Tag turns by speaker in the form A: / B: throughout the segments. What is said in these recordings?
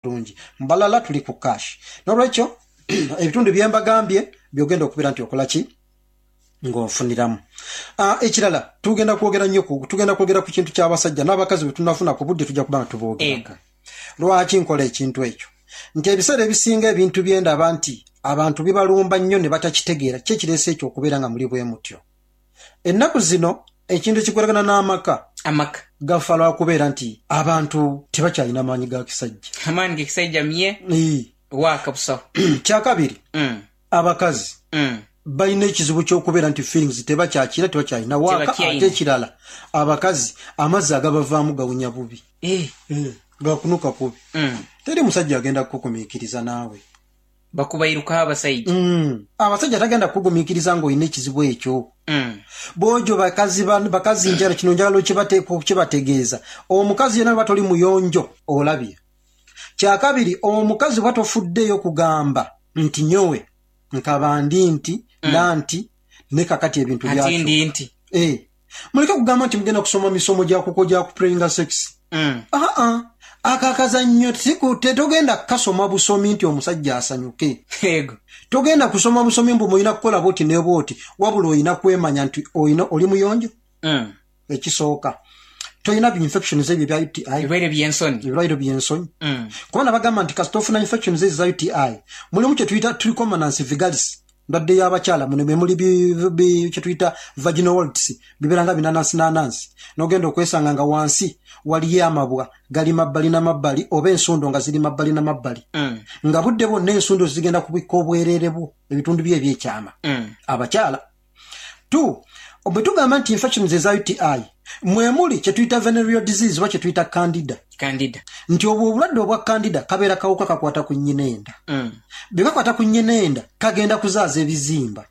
A: Bulungi. Mbalala tuli ku cash. N'olwekyo ebitundu bye mbagambye by'ogenda okubeera nti okola ki ng'onfuniramu. Ah, ekirala tugenda kwogera nnyo ku tugenda kwogera ku kintu ky'abasajja n'abakazi bwe tunafuna ku budde tujja kuba nga tuboogerako. Lwaki nkola ekintu ekyo? Nti ebiseera ebisinga ebintu bye ndaba nti abantu bibalumba nnyo ne batakitegeera ki ekireese ekyo okubeera nga muli bwe mutyo. Ennaku zino ekintu ekikwatagana n'amaka
B: Amaka.
A: gafa lwa kubeera nti abantu tebakyalina maanyi ga kisajja.
B: Amaani g'ekisajja mye
A: Ii.
B: waaka busaho.
A: Kyakabiri, abakazi balina ekizibu ky'okubeera nti feelings tebakyakira, tebakyalina waaka.
B: Tebakyalina.
A: Ate ekirala, abakazi amazzi agabavaamu gawunya bubi. Gakunuka kubi. Teri musajja agenda kukugumiikiriza naawe.
B: Bakubairukaho abasaija.
A: Abasajja tagenda kukugumiikiriza ng'olina ekizibu ekyo. Bwojo bakazi bakazi njala kino njagala okibategeeza. Omukazi yenna bw'oba toli muyonjo olabye. Kyakabiri omukazi bw'oba tofuddeeyo kugamba nti nyowe nkaba ndi nti na nti ne kakati ebintu
B: Ati
A: byakyuka.
B: ndi nti.
A: Muleke kugamba nti mugenda kusoma misomo gya kuko gya kuplayinga sex. Aa, ako akazannyo tetogenda kukasoma busomi nti omusajja asanyuke.
B: Ego.
A: Togenda kusoma busomi mbu mulina kukola bwoti ne bwoti, wabula olina kwemanya nti oli muyonjo. Ekisooka. Tolina bi infections ebyo ebya UTI.
B: Ebirwaire by'ensonyi.
A: Ebirwaire by'ensonyi. Kubanga bagamba nti kasita ofuna infections ezo eza UTI, mulimu kye tuyita trichomonas vulgaris, ndwadde y'abakyala, muno mwe muli kye tuyita vaginal warts, bibeera nga binanansi nanansi. N'ogenda okwesanga nga wansi waliyo amabwa gali mabbali na mabbali, oba ensundo nga ziri mabbali na mabbali. Nga budde bwonna ensundo zigenda kubikka obwereere bwo, ebitundu byo eby'ekyama. Abakyala. 2, bwe tugamba nti infections eza UTI, mwe muli kye tuyita venereal disease oba kye tuyita candida.
B: Candida.
A: Nti obwo obulwadde obwa candida kabeera kawuka kakwata ku nnyina enda. Bwe kakwata ku nnyina enda, kagenda kuzaaza ebizimba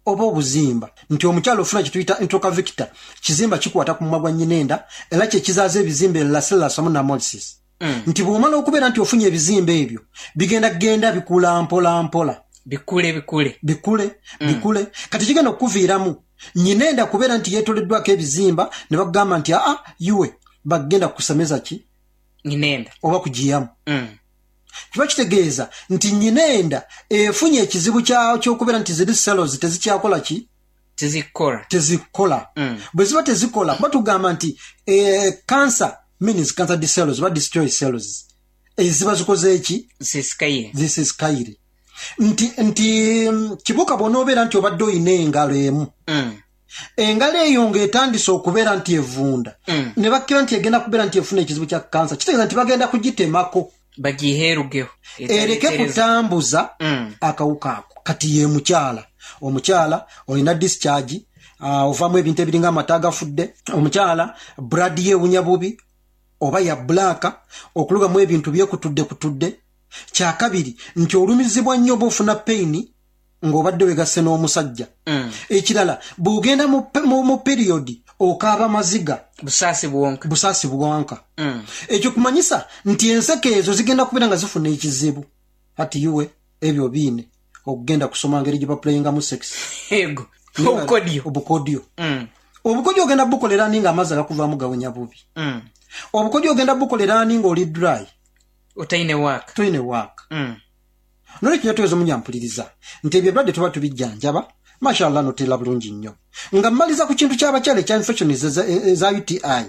A: oba obuzimba. Nti omukyala ofuna kye tuyita introcavicta, kizimba kikwata ku mumwa gwa nnyina enda, era kye kizaaza ebizimba elasillas wamu namolysis. Nti bw'omala okubeera nti ofunye ebizimba ebyo, bigenda kugenda bikula mpola mpola.
B: Bikule, bikule.
A: Bikule, bikule. Kati kigenda okukuviiramu nnyina enda kubeera nti yeetoleddwako ebizimba, ne bakugamba nti aa, iwe bagenda kukusemeza ki?
B: Nnyina enda.
A: Oba kugiyamu. Kiba kitegeeza nti nnyina enda efunye ekizibu ky'okubeera nti ziri cells tezikyakola ki?
B: Tezikola.
A: Tezikola. Bwe ziba tezikola, kuba tugamba nti cancer means cancer cells, oba destroy cells. Eziba zikoze eki?
B: Zisisikaire.
A: Zisisikaire. Nti kibuuka bw'onoobeera nti obadde olina engalo emu. Engalo eyo ng'etandise okubeera nti evunda. Ne bakkira nti egenda kubeera nti efuna ekizibu kya kansa. Kitegeeza nti bagenda kugitemako.
B: Bagiheerugeho.
A: Ereke kutambuza akawuka ako. Kati ye mukyala. Omukyala olina discharge, ovaamu ebintu ebiringa amata agafudde. Omukyala blood ye ewunya bubi oba ya black, okulugamu ebintu byekutudde kutudde. Kyakabiri nti olumizibwa nnyo oba ofuna pain ng'obadde wegasse n'omusajja. Ekirala bw'ogenda mu period okaaba maziga.
B: Busaasi bwonka.
A: Busaasi bwonka. Ekyo kumanyisa nti enseke ezo zigenda kubeera nga zifuna ekizibu. Ati iwe ebyo biine okugenda kusoma ngeri gye baplayingamu sex.
B: Ego. Obukodyo.
A: Obukodyo. Obukodyo ogenda bukolera ani ng'amazzi agakuvaamu gawunya bubi. Obukodyo ogenda bukolera ani ng'oli dry.
B: Otaine waaka.
A: Toine waaka. Nolwekyo ntegeeza omunyampuliriza nti ebyo ebirwadde tuba tubijjanjaba, mashallah noteera bulungi nnyo. Nga mmaliza ku kintu ky'abakyala ekya infections eza UTI,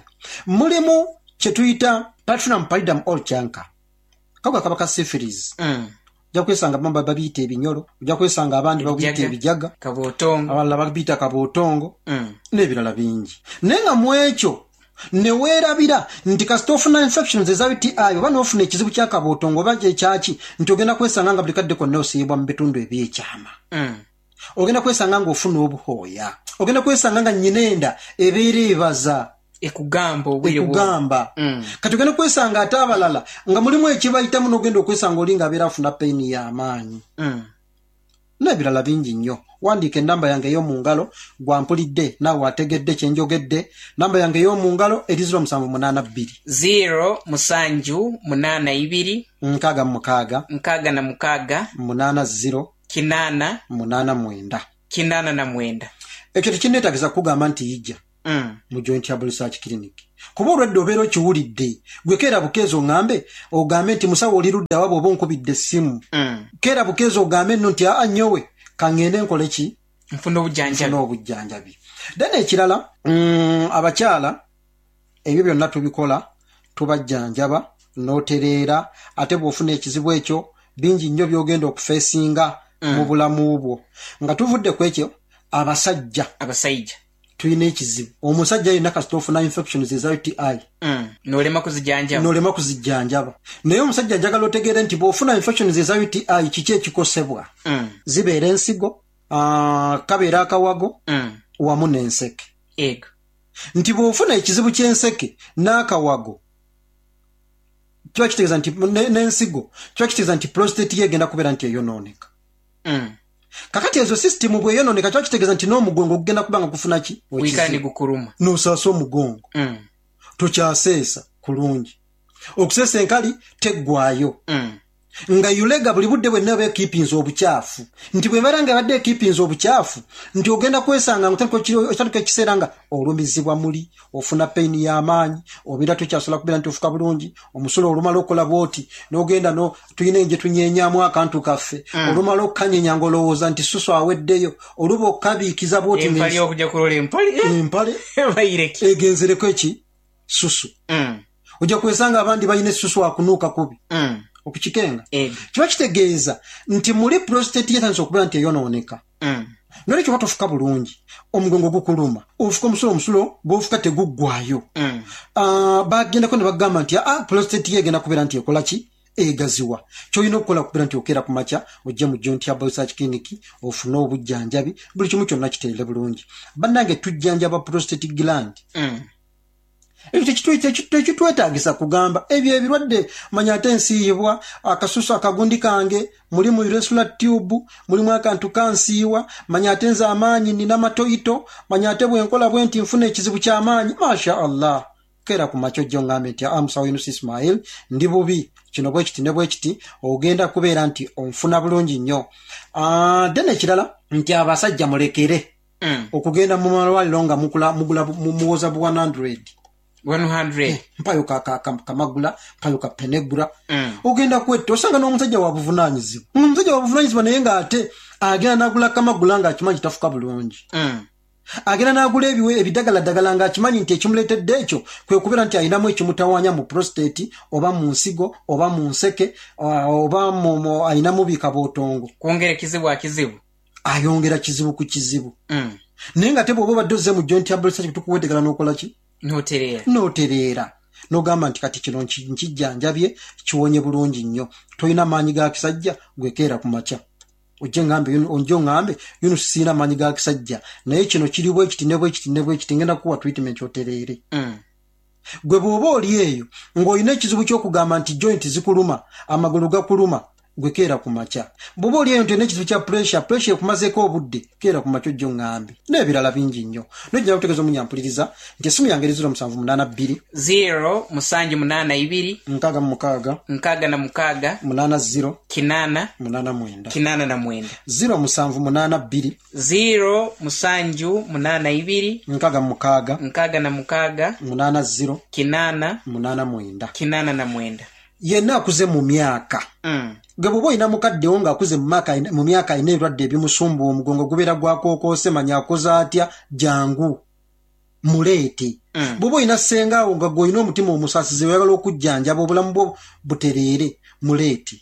A: mulimu kye tuyita Parthenium pallidum or chancre. Kawuka kaba ka syphilis. Ojja kwesanga abamu babiyita ebinyolo, ojja kwesanga abandi babiyita ebijaga,
B: Kabootongo.
A: abalala babiyita kabootongo, n'ebirala bingi. Naye nga mu ekyo ne weerabira nti kasita ofuna infections eza UTI oba n'ofuna ekizibu kya kabootongo oba ekyaki, nti ogenda kwesanga nga buli kadde konna osiibwa mu bitundu eby'ekyama. Ogenda kwesanga ng'ofuna obuhooya. Ogenda kwesanga nga nnyina enda ebeera ebaza.
B: Ekugamba obwire bwo.
A: Ekugamba. Kati ogenda kwesanga ate abalala nga mulimu ekibayitamu n'ogenda okwesanga oli ng'abeera afuna pain y'amaanyi. N'ebirala bingi nnyo. Wandiika ennamba yange ey'omu ngalo, gwampulidde naawe ategedde kye njogedde. Nnamba yange ey'omu ngalo eri zero musanvu munaana bbiri.
B: Zero musanju munaana ibiri.
A: Nkaaga mu mukaaga.
B: Nkaaga na mukaaga.
A: Munaana zero.
B: Kinaana.
A: Munaana mwenda.
B: Kinaana na mwenda.
A: Ekyo tekinneetaagisa kukugamba nti yijja. Mu Joint Herbal Research Clinic. Kuba olwedda obeera okiwulidde. Gwe keera bukeezi oŋŋambe, ogambe nti, Musawo oli ludda wa bw'oba onkubidde essimu? Keera bukeezi ogambe nno nti, Aa nyowe, ka ŋŋende nkole ki?
B: Nfune obujjanjabi.
A: Nfune obujjanjabi. Then ekirala, abakyala ebyo byonna tubikola, tubajjanjaba n'otereera, ate bw'ofuna ekizibu ekyo, bingi nnyo by'ogenda okufeesinga mu bulamu bwo. Nga tuvudde ku ekyo, abasajja.
B: Abasajja.
A: Tulina ekizibu. Omusajja yenna kasita ofuna infections eza UTI.
B: N'olema kuzijanjaba.
A: N'olema kuzijanjaba. Naye omusajja njagala otegeere nti bw'ofuna infections eza UTI kiki ekikosebwa? Zibeera ensigo, kabeera akawago, wamu n'enseke.
B: Ego.
A: Nti bw'ofuna ekizibu ky'enseke n'akawago kiba kitegeeza nti n'ensigo kiba kitegeeza nti prostate ye egenda kubeera nti eyonooneka. Kakati ezo sisitimu bw'eyonooneka kiba kitegeeza nti n'omugongo gugenda kuba nga gufuna ki?
B: Wikala ne gukuluma.
A: N'osaasa omugongo. Tokyaseesa kulungi. Okuseesa enkali teggwaayo. Nga yulega buli budde bwenna eba ekiipinze obukyafu. Nti bw'ebeera nga ebadde ekiipinze obukyafu, nti ogenda kwesanga nga otandika ekiseera nga olumizibwa muli, ofuna peyini y'amaanyi, obeera tokyasobola kubeera nti ofuka bulungi, omusulo olumala okukola bw'oti, n'ogenda no, tulina engye tunyenyamu akantu kaffe, olumala okukanyenya ng'olowooza nti susu aweddeyo, oluba okukabiikiza bw'oti
B: Empale okujja kulola empale.
A: Empale.
B: Bayireke.
A: Egenzereko eki? Susu. Ojja kwesanga abandi balina essusu akunuuka kubi. Okukikenga. Kiba kitegeeza nti muli prostate yetandise okubeera nti eyonooneka. Nolwekyo oba tofuka bulungi, omugongo gukuluma, ofuka omusulo, omusulo gw'ofuka teguggwaayo. Bagendako ne bagamba nti aa prostate ye egenda kubeera nti ekola ki? Egaziwa. Ky'olina okukola kubeera nti okeera ku makya ojje mu Joint Herbal Research Clinic ofune obujjanjabi, buli kimu kyonna kitereere bulungi. Bannange tujjanjaba prostate gland. Ekyo tekitwetaagisa kugamba ebyo ebirwadde, manya ate nsiiyibwa akasusu akagundi kange, mulimu urethra tube, mulimu akantu kansiiwa, manya ate nze amaanyi nina matoyito, manya ate bwe nkola bwe nti nfuna ekizibu ky'amaanyi. Masha Allah, keera ku makya ojje oŋŋambe nti aa musawo Yunus Ismail ndi bubi kino bwe kiti ne bwe kiti, ogenda kubeera nti onfuna bulungi nnyo. Then ekirala nti abasajja mulekere okugenda mu malwaliro nga mukula mugula muwoza bu 100.
B: 100.
A: Mpayo ka, ka, ka, kamagula, mpayo ka penegura. Ogenda kwetta osanga n'omusajja wa buvunaanyizibwa, omusajja wa buvunaanyizibwa naye ng'ate agenda n'agula kamagula ng'akimanyi tafuka bulungi. Agenda n'agula ebiwe ebidagaladagala ng'akimanyi nti ekimuleetedde ekyo kwe kubeera nti alinamu ekimutawaanya mu prostate oba mu nsigo oba mu nseke oba alinamu bikabootongo.
B: Kwongera kizibu akizibu.
A: Ayongera kizibu ku kizibu. Naye nga te bw'oba obadde ozze mu Joint Herbal Research tukuwa eddagala n'okola ki?
B: N'otereera.
A: N'otereera. N'ogamba nti kati kino nkijjanjabye kiwonye bulungi nnyo. Tolina maanyi ga kisajja, gwe keera ku makya. Ojje ngambe, ojje oŋŋambe, Yunus sirina maanyi ga kisajja, naye kino kiri bwe kiti ne bwe kiti ne bwe kiti, ngenda kukuwa treatment otereere. Gwe bw'oba oli eyo ng'olina ekizibu ky'okugamba nti joint zikuluma, amagulu gakuluma, gwe keera ku makya. Bw'oba oli eyo nti olina ekizibu kya pressure, pressure ekumazeeko obudde, keera ku makya ojje oŋŋambe. N'ebirala bingi nnyo. Naye njagala kutegeeza omunyampuliriza nti essimu yange eri 0782
B: 0 musanju munaana ibiri
A: 66
B: 66
A: 80
B: 8
A: 89
B: 89
A: 0782
B: 0 musanju munaana ibiri
A: 66
B: 66
A: 80
B: 8
A: 89
B: 89.
A: Yenna akuze mu myaka. Gwe bw'oba olina mukaddewo ng'akuze mu myaka alina ebirwadde ebimusumbuwa, omugongo gubeera gwakookoose, manya akoze atya, jangu muleete. Bw'oba olina ssengaawo nga gwe olina omutima omusaasizi oyagala okujjanjaba obulamu bwo butereere, muleete.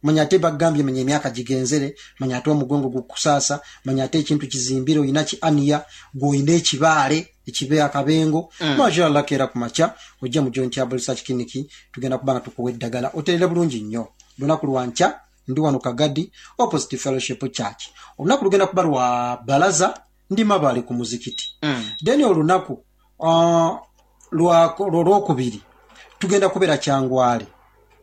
A: Manya ate bagambye manya emyaka gigenzere, manya ate omugongo gukusaasa, manya ate ekintu kizimbire, olina ki aniya, gwe olina ekibaale ekibe akabengo. Mashallah, keera ku makya ojje mu Joint Herbal Research Clinic, tugenda kuba nga tukuwa eddagala oterere bulungi nnyo. Lunaku lwa nkya ndi wano Kagadi opposite Fellowship Church. Olunaku lugenda kuba lwa balaza, ndi Mabaale ku muzikiti. Then olunaku lwokubiri tugenda kubeera Kyangwale.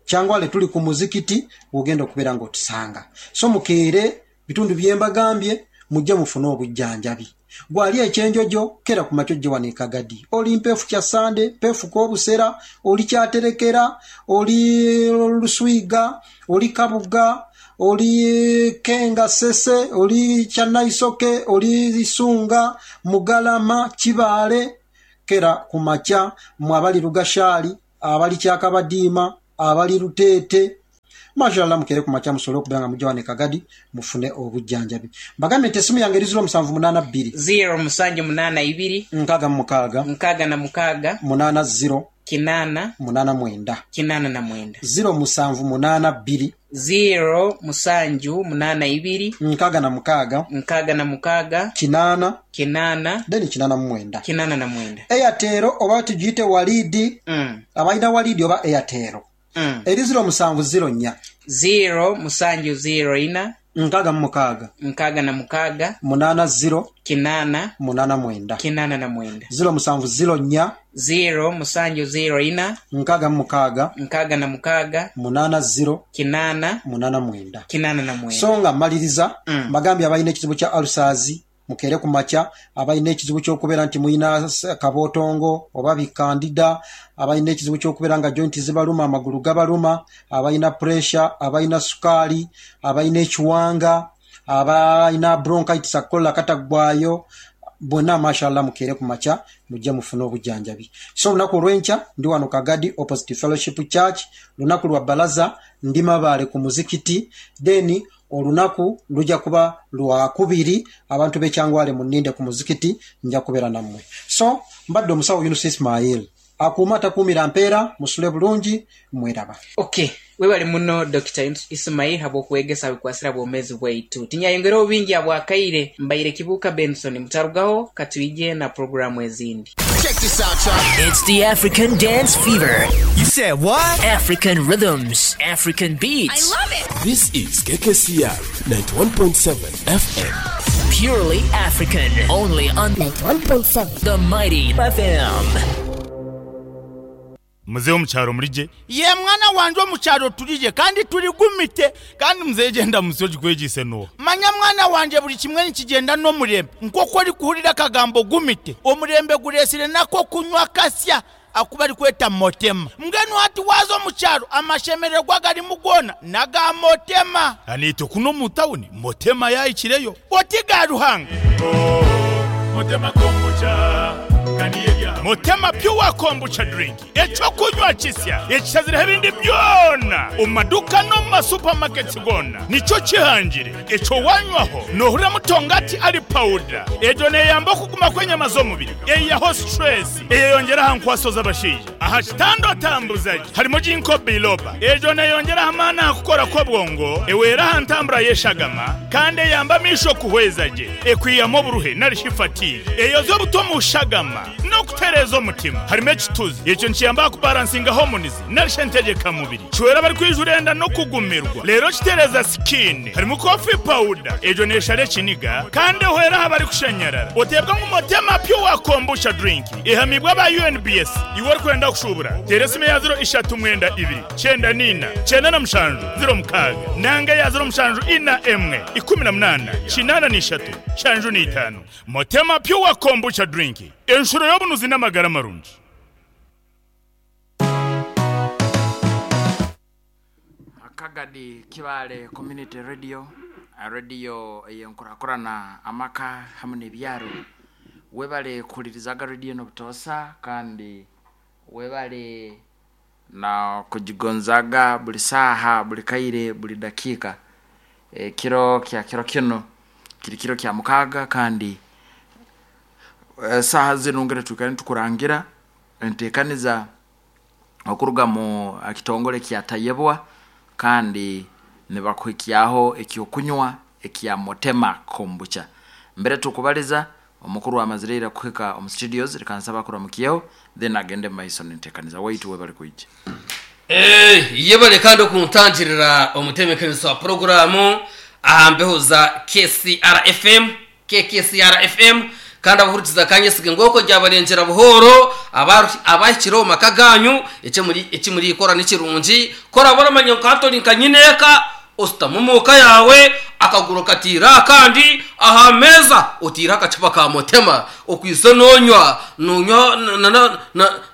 A: Kyangwale tuli ku muzikiti w'ogenda okubeera ng'otusanga. So mukeere bitundu bye mbagambye, mujje mufune obujjanjabi. Gwali ekyenjojo, keera ku makya ojje wano e Kagadi. Oli mpeefu kya Sande, mpeefu k'obusera, oli kyaterekera, oli Luswiga, oli Kabuga, oli Kenga Ssese, oli Kyanaisoke, oli Isunga, Mugalama, Kibaale, kera ku makya mwe abali Lugashaali, abali Kyakabadiima, abali Luteete, Mashallah mukeere ku makya musobole okubeera nga mujja wano e Kagadi mufune obujjanjabi. Mbagambye nti essimu yange eri 0782.
B: 0782.
A: 66.
B: 66.
A: 80.
B: Kinaana.
A: 89.
B: 89.
A: 0782.
B: 0782.
A: 66.
B: 66.
A: 80.
B: 80.
A: Then 89.
B: 89.
A: Airtel oba tugiyite Walidi. Abalina Walidi oba Airtel. Eri 0704.
B: 0704.
A: 66.
B: 66.
A: 80.
B: 80.
A: 89.
B: 89.
A: 0704.
B: 0704.
A: 66.
B: 66.
A: 80.
B: 80.
A: 89.
B: 89.
A: So nga mmaliriza, mbagambye abalina ekizibu kya ulcers mukeere ku makya, abalina ekizibu ky'okubeera nti mulina kabootongo oba bi candida, abalina ekizibu ky'okubeera nga joint zibaluma, amagulu gabaluma, abalina pressure, abalina sukaali, abalina ekiwanga, abalina bronchitis akola kataggwayo, bonna mashallah mukeere ku makya mujje mufune obujjanjabi. So olunaku olw'enkya ndi wano Kagadi opposite Fellowship Church, lunaku lwa balaza ndi Mabaale ku muzikiti, then olunaku lujja kuba lwakubiri abantu b'e Kyangwale munninde ku muzikiti nja kubeera nammwe. So mbadde omusawo Yunus Ismail akuuma atakuumira mpeera, musule bulungi mweraba.
B: Ok, webale muno Dokita Ismail habw'okwegesa habikwasire habwomezi bwaitu. Tinyayongereho bingi habwakaire, mbaire Kibuuka Benson mutarugaho katwije na puroguramu ezindi.
C: Check this out, y'all.
D: It's the African Dance Fever.
E: You said what?
D: African rhythms, African beats.
F: I love it.
G: This is KKCR 91.7 FM.
D: Purely African. Only on
H: 91.7
D: The Mighty FM.
I: Muzeeyi omu kyaro murigye?
J: Ye mwana wangye omu kyaro turigye kandi turigumite.
I: Kandi muzeeyi gyenda munsi ogikwegyise n'oha?
J: Manya mwana wangye buri kimwe nikigyenda n'omurembe. Nk'oku orikuhurira akagambo gumite, omurembe gureetsire n'ak'okunywa kasya aku barikweta motema. Mbwenu hati waaza omu kyaro amashemererwa agarimu goona n'aga motema.
I: Naitwe kunu omu tawuni motema yaahikireyo.
J: Oti ga Ruhanga.
I: Motema kombucha Motema Pure Kombucha Drink ekyokunywa kisya ekishazireho ebindi byona omu maduuka n'omu masupamaketi goona nikyo kihangire ekyo wanywaho noohurira mutongati ari pawuda egyo neeyamba okuguma kw'enyama z'omubiri eihaho situresi eyeyongyera aha nkwaso z'abashaija aha kitanda otambuza gye harimu ginkgo biloba egyo neeyongyera aha maani aha kukora kw'obwongo ehwera aha ntambura y'eshagama kandi eyamba amaisho kuhweza gye ekwihamu oburuhe nari shi fatigue eyoza obuto omu shagama n'okutereeza omutima. Harimu ekituzi, ekyo nikiyamba aha kubaransinga hormones nari shi entegyekamubiri. Kihwera abarikwijura enda n'okugumirwa reero kitereeza skin. Harimu coffee powder, egyo neeshara ekiniga kandi ehwera aha barikushanyarara. Oteebwa ngu Motema Pure Kombucha Drink ehamiibwe aba UNBS. Iwe orikwenda kushuubura, teera esimu eya ziro ishatu mwenda ibiri, kyenda n'ina, kyenda na mushanju, ziro mukaaga nanga eya ziro mushanju ina emwe, ikumi na munaana, kinaana n'ishatu, nshanju n'itaano. Motema Pure Kombucha Drink, enshuro y'obunuzi n'amagara marungi.
K: Kagadi Kibaale Community Radio, rediyo ey'enkurakurana amaka hamwe n'ebyaro. Webale kuhuririzaga rediyo enu obutoosa kandi webale na kugigonzaga buri saaha, buri kaire, buri dakiika. Ekiro kya kiro kinu kiri kiro kya mukaaga kandi esaaha zinu ngira twikare nitukurangira enteekaniza okuruga mu kitongore kya Tayebwa kandi nibakuhikyaho ekyokunywa ekya Motema Kombucha. Mbere tukubaliza omukuru amazire ira kuhika omu studios reka nsaba akuramukyeho then agende mumaiso nenteekaniza waitu webale kwija.
L: Yebare kandi okuntangirira omutebeekanisa wa puroguraamu aha mbeho za KCR FM, KKCR FM, kandi abahurikiza kanyesiga ngu okwo ryabarengyera buhooro abahikire omu maka gaanyu eki murikora ni kirungi. Ku oraabe oramanya ngu hati ori nka nyineeka, oshutame omu ka yaawe, akaguru okatiire aha kandi aha meeza otiireho akacupa ka motema okwaitse noonywa, noonywa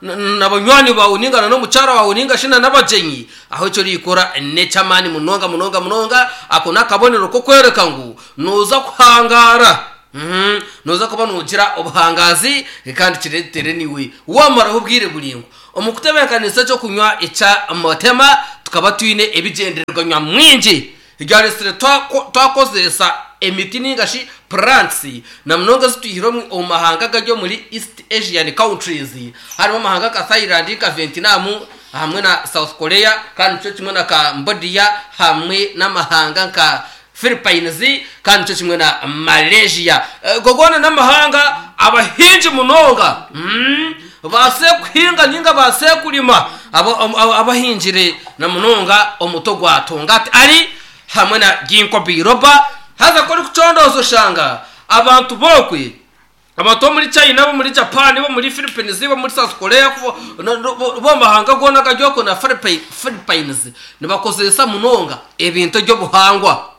L: na banywani baawe nainga na n'omukyara waawe nainga shi na n'abagyenyi. Aho eki orikora n'eky'amaani munonga munonga munonga. Ako n'akabonero k'okworeka ngu nooza kuhangaara. Nooza kuba noogira obuhangaazi kandi kireetere naiwe waamaraho obwire buraingwa. Omu kutebeekanisa eky'okunywa ekya Motema, tukaba twine ebigyendererwa nyamwingi ebyareetsire twakozesa emiti nainga shi plants na munonga ezi twihire omu mahanga agari omuri East Asian countries harimu amahanga nka Thailand, nka Vietnam hamwe na South Korea kandi nikyo kimwe na Cambodia hamwe n'amahanga nka Philippines kandi nikyo kimwe na Malaysia. Ago goona n'amahanga abahingi munonga baase kuhinga ninga baase kurima abahingire na munonga omuti ogwa Tongati Ali hamwe na Ginkgo biloba. Haza ku orikucondooza oshanga abantu b'okwe Abantu b'omuri China, ab'omuri Japan, ab'omuri Philippines, ab'omuri South Korea, b'omu mahanga goona agari okwo na Philippines nibakozesa munonga ebintu eby'obuhangwa.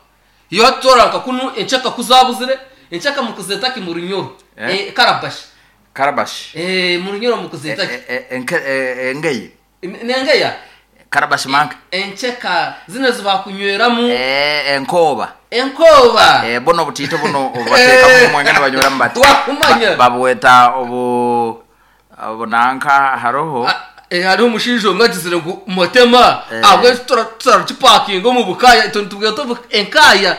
L: Iwe hati toorora nka kunu enkyeka ku zaabuzire, enkyeka mukuzeeta ki mu Runyoro?
K: Eh?
L: Karabashi.
K: Karabashi.
L: Mu Runyoro mukuzeeta ki?
K: Engeye.
L: Nengeya?
K: Karabashi manka.
L: Enkyeka zinu ezi bakunyweramu.
K: Enkooba.
L: Enkooba.
K: Bunu obutiito bunu obubateekamu omwenge nibanyweramu bati.
L: Wakumanya.
K: Babweta obu obunanka hariho.
L: Hariho omushaija omwe agizire ngu Motema ahabw'enki tutarakipakinga omu bukaaya itwe nitubweta enkaaya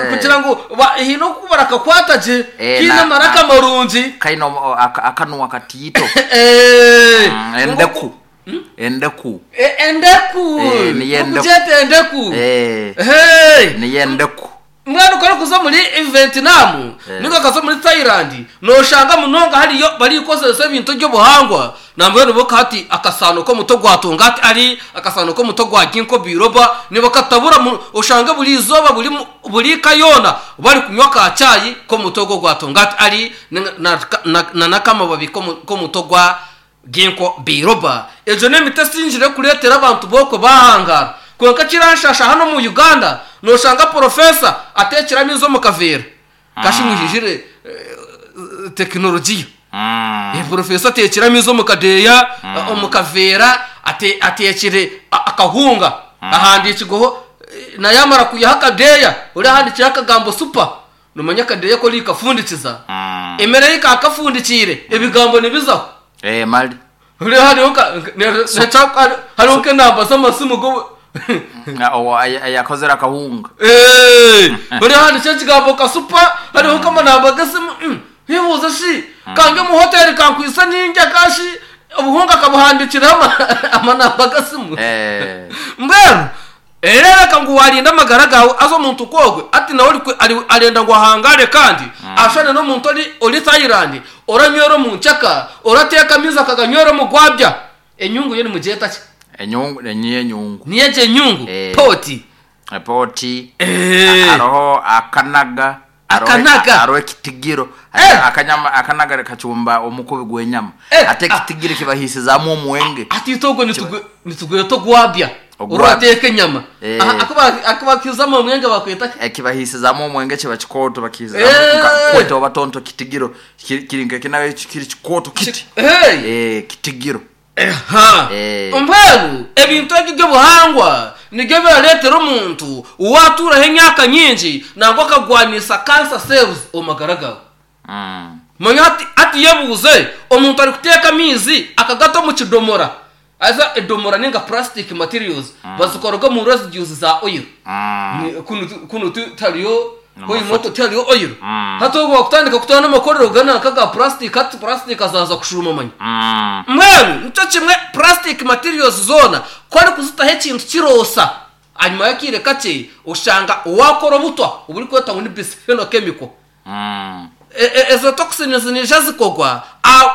L: kugira ngu haine oku barakakwata gye kaine amaraka marungi.
K: Kaine akanwa katiito. Endeku. Endeku.
L: Endeku.
K: Niyo endeku.
L: Okugyeta endeku.
K: Niyo endeku.
L: Mbwenu ku orikuza omuri Vietnam ninga okaza omuri Thailand noshanga munonga hariyo barikukozesa ebintu eby'obuhangwa nambwenu bo hati akasaano k'omuti ogwa Tongkat Ali, akasaano k'omuti ogwa Ginkgo biloba nibakatabura oshange buri izooba buri buri ka yoona barikunywa ka chai k'omuti ogwo ogwa Tongkat Ali na n'akamababi k'omuti ogwa Ginkgo biloba. Egyo n'emiti esingire kureetera abantu b'okwe baahangaara. Kwonka ekiranshaasha hanu omu Uganda, nooshanga porofeesa ateekire amaizi omu kaveera. Kashi mwihijire tekinologiya. Porofeesa ateekire amaizi omu kadeeya, omu kaveera, ateekire akahunga ahandiikirweho, na yaamara kwihaho akadeeya, oriya ahandiikireho akagambo super. Noomanya akadeeya ku orikafundikiza, emere ei kaakafundikiire, ebigambo nibizaho.
K: Eh, mali.
L: Hariho hariho nka hariho nk'enamba z'amasimu go
K: Ayakozire akahunga.
L: Eh, hariho handikire ekigambo kasupa, hariho nk'amanamba g'esimu. Yebuuza shi, kange omu hoteri kankwitse nindya kashi obuhunga kabuhandikireho amanamba g'esimu.
K: Eh.
L: Mbwenu Ereebeka ngu waarinda amagara gaawe haza omuntu nk'ogwe hati nawe arenda ngu ahangaare kandi ashushane n'omuntu ori Thailand oranywera omu nkyeka, orateeka amaizi akaganywera omu gwabya. Enyungu yo nimugyeta ki?
K: Enyungu niyo enyungu.
L: Niyo egyo enyungu? Poti.
K: Poti. Hariho akanaga.
L: Akanaga.
K: Hariho ekitigiro. Akanyama akanaga kacumba omukubi gw'enyama. Hati ekitigiro kibahiisizamu omwenge.
L: Hati itwe ogwo nitugweta ogwabya. Orateeka enyama. Aku bakihizamu omwenge bakweta ki?
K: Ekibahiisizamu omwenge kiba kikooto bakihiizamu kweta oba tonto kitigiro. Kiri nk'ekinaga kiri kikooto kiti. Kitigiro.
L: Eha. Mbwenu ebintu ebi by'obuhangwa nibyo birareetera omuntu waatuuraho emyaka nyingi nangwa akagwanisa cancer cells omu magara gaawe. Manya hati hati yebuuze omuntu arikuteeka amaizi akagata omu kidomora haza edomora ninga plastic materials bazikoraga omu residues za oil. Kunu kunu tihariyo Hoima tihariyo oil. Hati obu bakutandika kutwara n'amakorero ga nanka ga plastic hati plastic zaaza kushuuma manya. Mbwenu nikyo kimwe plastic materials zoona ku orikuzitaho ekintu kiroosa ahanyima y'akaire kakye oshanga waakora obutwa oburikwetwa ngu ni bisphenol chemical. Ezo toxins niija zikogwa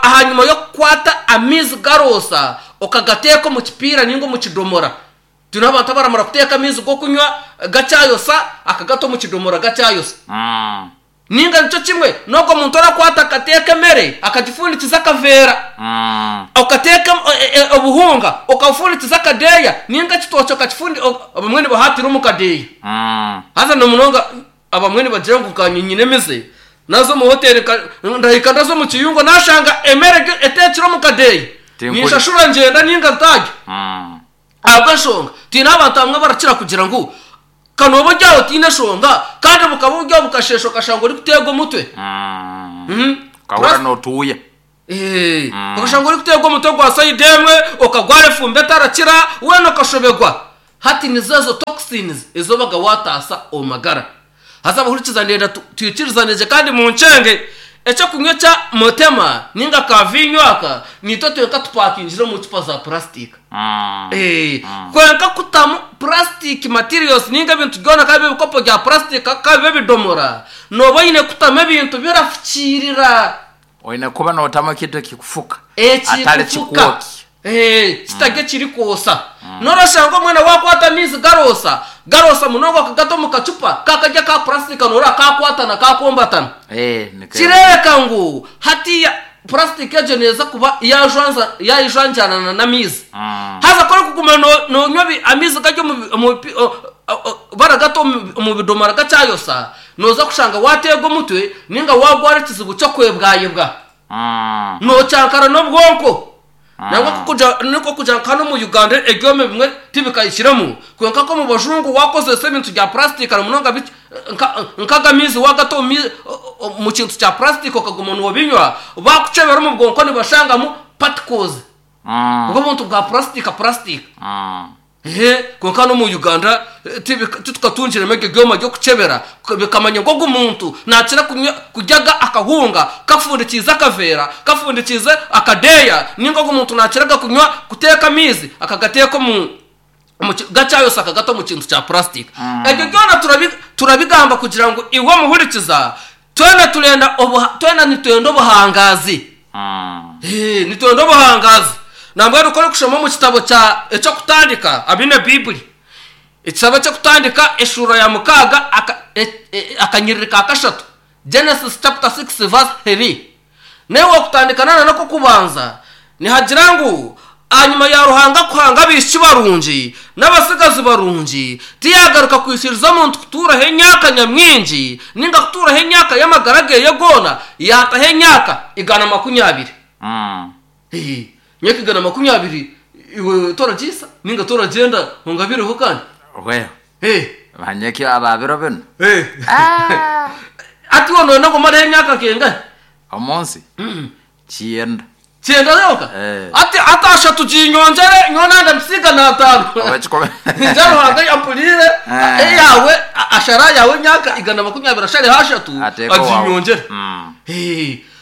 L: ahanyima y'okukwata amaizi garoosa okagateeka omu kipiira ninga omu kidomora. Twine abantu abaramara kuteeka amaizi g'okunywa gakyayosa akagata omu kidomora gakyayosa. Ninga nikyo kimwe n'ogwo muntu orakwata akateeka emere akagifundikiza akaveera, okateeka obuhunga okabufundikiza akadeeya ninga ekitookye okakifundi abamwe nibahaatira omu kadeeya. Haza na munonga abamwe nibagira ngu nkanye nyine emize, naza omu hoteeri ndahika ndaza omu kiyungu nashanga emere eteekire omu kadeeya, ninshashura ngyenda ninga ntaarya. Ahabw'enshonga, twine abantu abamwe abarakira kugira ngu, Ka nooba ori aho otaine nshonga, kandi bukaba buri aho bukasheesha okashanga orikuteerwa omutwe.
K: Okahurira nootuuya.
L: Okashanga orikuteerwa omutwe gwa sayidi emwe, okagwara efumbi etarakira, weena okashoberwa. Hati nizo ezo toxins ezi obaga waataasa omu magara. Haza abahurikiza ndenda twikirizane gye kandi munkyenge, ekyokunywa ekya Motema ninga ka viinyo aka niitwe twenka tupakingire omu cupa za purasitika. Kwenka kutamu purasitiki materials ninga ebintu byona ka bibe ebikopo bya purasitika ka bibe ebidomora, nooba oine kutamu ebintu birafukiirira.
K: Oine kuba nootamu ekintu ekikufuka atari
L: Ekikufuka.
K: kikwoki.
L: Kitari ekirikwosa. N'orashanga omwana waakwata amaizi garoosa, garoosa munonga okagata omu kacupa kakari aka purasitika nooreba kaakwatana kaakombatana. Kireebeka ngu hatiiya purasitika egyo neeza kuba yaajwanza yaayejwanjaanana n'amaizi. Haza ku orikuguma noonywa amaizi gari omu baragata omu bidomora gakyayosa, nooza kushanga waateerwa omutwe nainga waagwara ekizibu ky'okwebwayebwa. Nookyankara n'obwonko. Nangwa nikwo kugira nka hanu omu Uganda ebyoma ebimwe tibikahikiremu, kwonka nk'omu bajungu waakozesa ebintu bya purasitika na munonga nk'aga amaizi waagata omu kintu kya purasitika okaguma noobinywa, baakukyebera omu bwonko nibashangamu particles. Obwo obuntu bwa purasitika purasitika. Ehe, kwonka n'omu Uganda titukatungiremu ebyo byoma by'okukyebera bikamanya ngu ogu muntu naakira kunywa kurya ga akahunga kafundikiize akaveera, kafundikiize akadeeya, nainga ogu muntu naakira kunywa kuteeka amaizi akagateeka omu gakyayosa akagata omu kintu kya purasitika. Ebyo byona turabigamba kugira ngu iwe omuhurikiza twena turenda twena nitwenda obuhangaazi. Nitwenda obuhangaazi. Nambwenu ku orikushoma omu kitabo kya Eky'okutandika, abaine Baibuli, ekitabo eky'okutandika eshuura ya mukaaga akanyiriri ka kashatu, Genesis chapter 6 verse 3, Naiwe okutandika na n'ak'okubanza, nihagira ngu, Ahanyima ya Ruhanga kuhanga abaishiki barungi n'abatsigazi barungi, tiyaagaruka kwikiriza omuntu kutuuraho emyaka nyamwingi nainga kutuuraho emyaka y'amagara ge goona, yaataho emyaka 120. Emyaka 120 iwe toragiisa nainga toragyenda ongabireho kandi?
K: Manya eki aba biro binu.
L: Hati iwe nooyenda ngu omareho emyaka nk'engahi?
K: Omu nsi? Kyenda.
L: Kyenda yonka?
K: Eh.
L: Hati hati ashatu ginyongyere nyowe nanda mpise 500.
K: Oba kikumi.
L: Ningira Ruhanga yampuriire
K: Eh.
L: eyaawe ashara yaawe emyaka 120 ashareho ashatu
K: Ateeke owaawe.
L: aginyongyere.
K: Mm.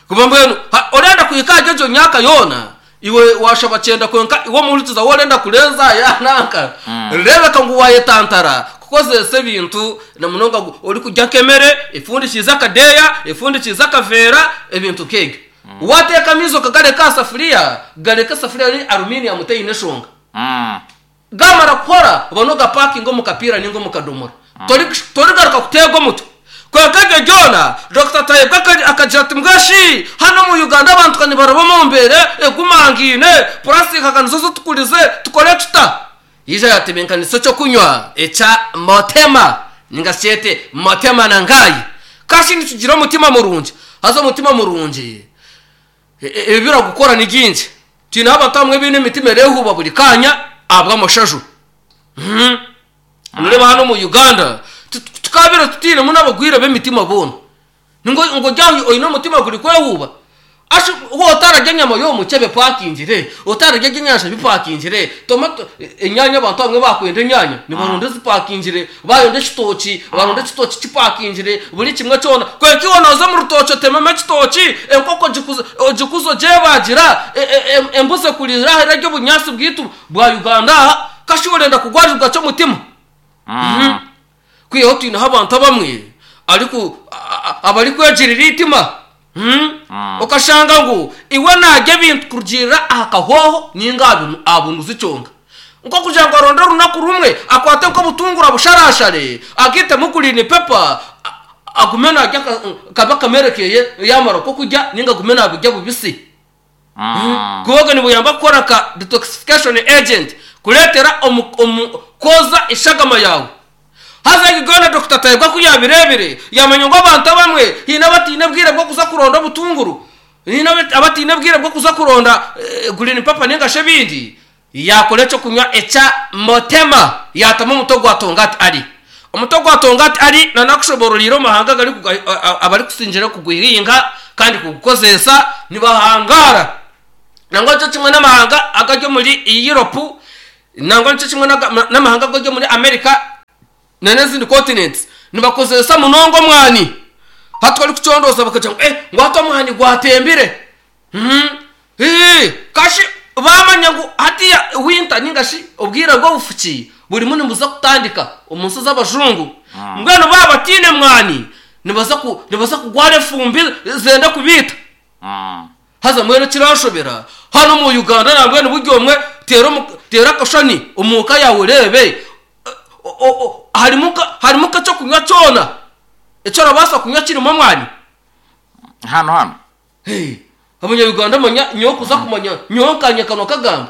L: Kuba mbwenu orenda kuhika ahari egyo myaka yoona Iwe waashaba kyenda kwonka iwe omuhurikiza waaba orenda kurenza aha ya nanka, reebeka ngu waayetantara kukozesa ebintu na munonga ngu orikurya nk'emere efundikiize akadeeya, efundikiize akaveera, ebintu nk'ebyo. Waateeka amaizi okagareka aha safuriya, gareke esafuriya eri aluminium teine nshonga. Gaamara kuhora, obone ogapakinga omu kapiira nainga omu kadomora. Torigaruka kuteegwa omutwe. Kwonka ebyo byona, Dokita Tayebwa akagira ati, Mbwenu shi hanu omu Uganda abantu ka nibaraba omu mbeera egumangaine, purasitika ka nizo zitukurize, tukore tuta? Yaija yaatebeekanisa eky'okunywa ekya Motema nainga shi kyete Motema na Ngai. Ka shi nitugira omutima murungi! Haza omutima murungi Ebi biragukora ni bingi. Twineho abantu abamwe abaine emitima ereehuuba buri kaanya ahabw'amashaju. Noreeba hanu omu Uganda tukaabaire tutainemu n'abagwire b'emitima boona. Ngu ori aho oine omutima gurikwehuuba? Ashi waaba otararya enyama y'omukyebe epakingire, otararya ebyenyanja bipakingire, tomato, enyaanya abantu abamwe baakwenda enyaanya nibaronda ezipakingire, Baayonda ekitookye, baronda ekitookye kipakingire, buri kimwe kyona. Kwonka iwe nooza omu rutookye otememu ekitookye, enkoko ogikuze ogyebagira, embuzi ekuriire aha erarya obunyaatsi bwaitu bwa Uganda aha, kashi orenda kugwarirwa ki omutima? Kwihaho twineho abantu abamwe abarikwegirira eitima. Okashanga ngu iwe naarya ebintu kurugiirira aha kahooho nainga aha bunuzi kyonka. Nk'okugira ngu aronde orunaku rumwe akwate nk'obutunguru abusharashare, agaitemu gurini pepa, Agume naarya kabe akamere keye yaamara nk'okurya nainga agume naabirya bubisi. Kuba nibuyamba kukora nka detoxification agent kureetera omu omu kwoza eshagama yaawe. Haza egi goona Dokita Tayebwa ku yaabireebire yaamanya ngu abantu abamwe haine abataine bwire bw'okuza kuronda obutunguru, haine abataine bwire bw'okuza kuronda green pepper nainga shi ebindi, Yaakora eky'okunywa ekya Motema, yaatamu omuti ogwa Tongat Ali. Omuti ogwa Tongat Ali nanakushoboororeire omu mahanga abarikusingira kuguhinga kandi kugukozeesa nibahangaara. Nangwa nikyo kimwe n'amahanga agari omuri Europe, nangwa nikyo kimwe n'amahanga agari omuri America n'ezindi continents nibakozeesa munonga omwani. Hati ku orikucondooza bakagira ngu eh ngu hati omwani gwatembire. Kashi baamanya ngu hatiiya winter nainga shi obwire bw'obufuki burimu nibuza kutandika omu nsi z'abajungu, mbwenu baaba bataine mwani nibaza ku nibaza kugwara efumbi zenda kubaita. Haza mbwenu ekiranshobera hanu omu Uganda nambwenu buri omwe teera omu teera akashushani omu ka yaawe oreebe harimu nka harimu nk'ekyokunywa kyona eki orabaasa kunywa kirimu omwani?
K: Hanu hanu.
L: Hey, Abanya-Uganda manya nyowe kuza kumanya nyowe nkanye akanwa kagamba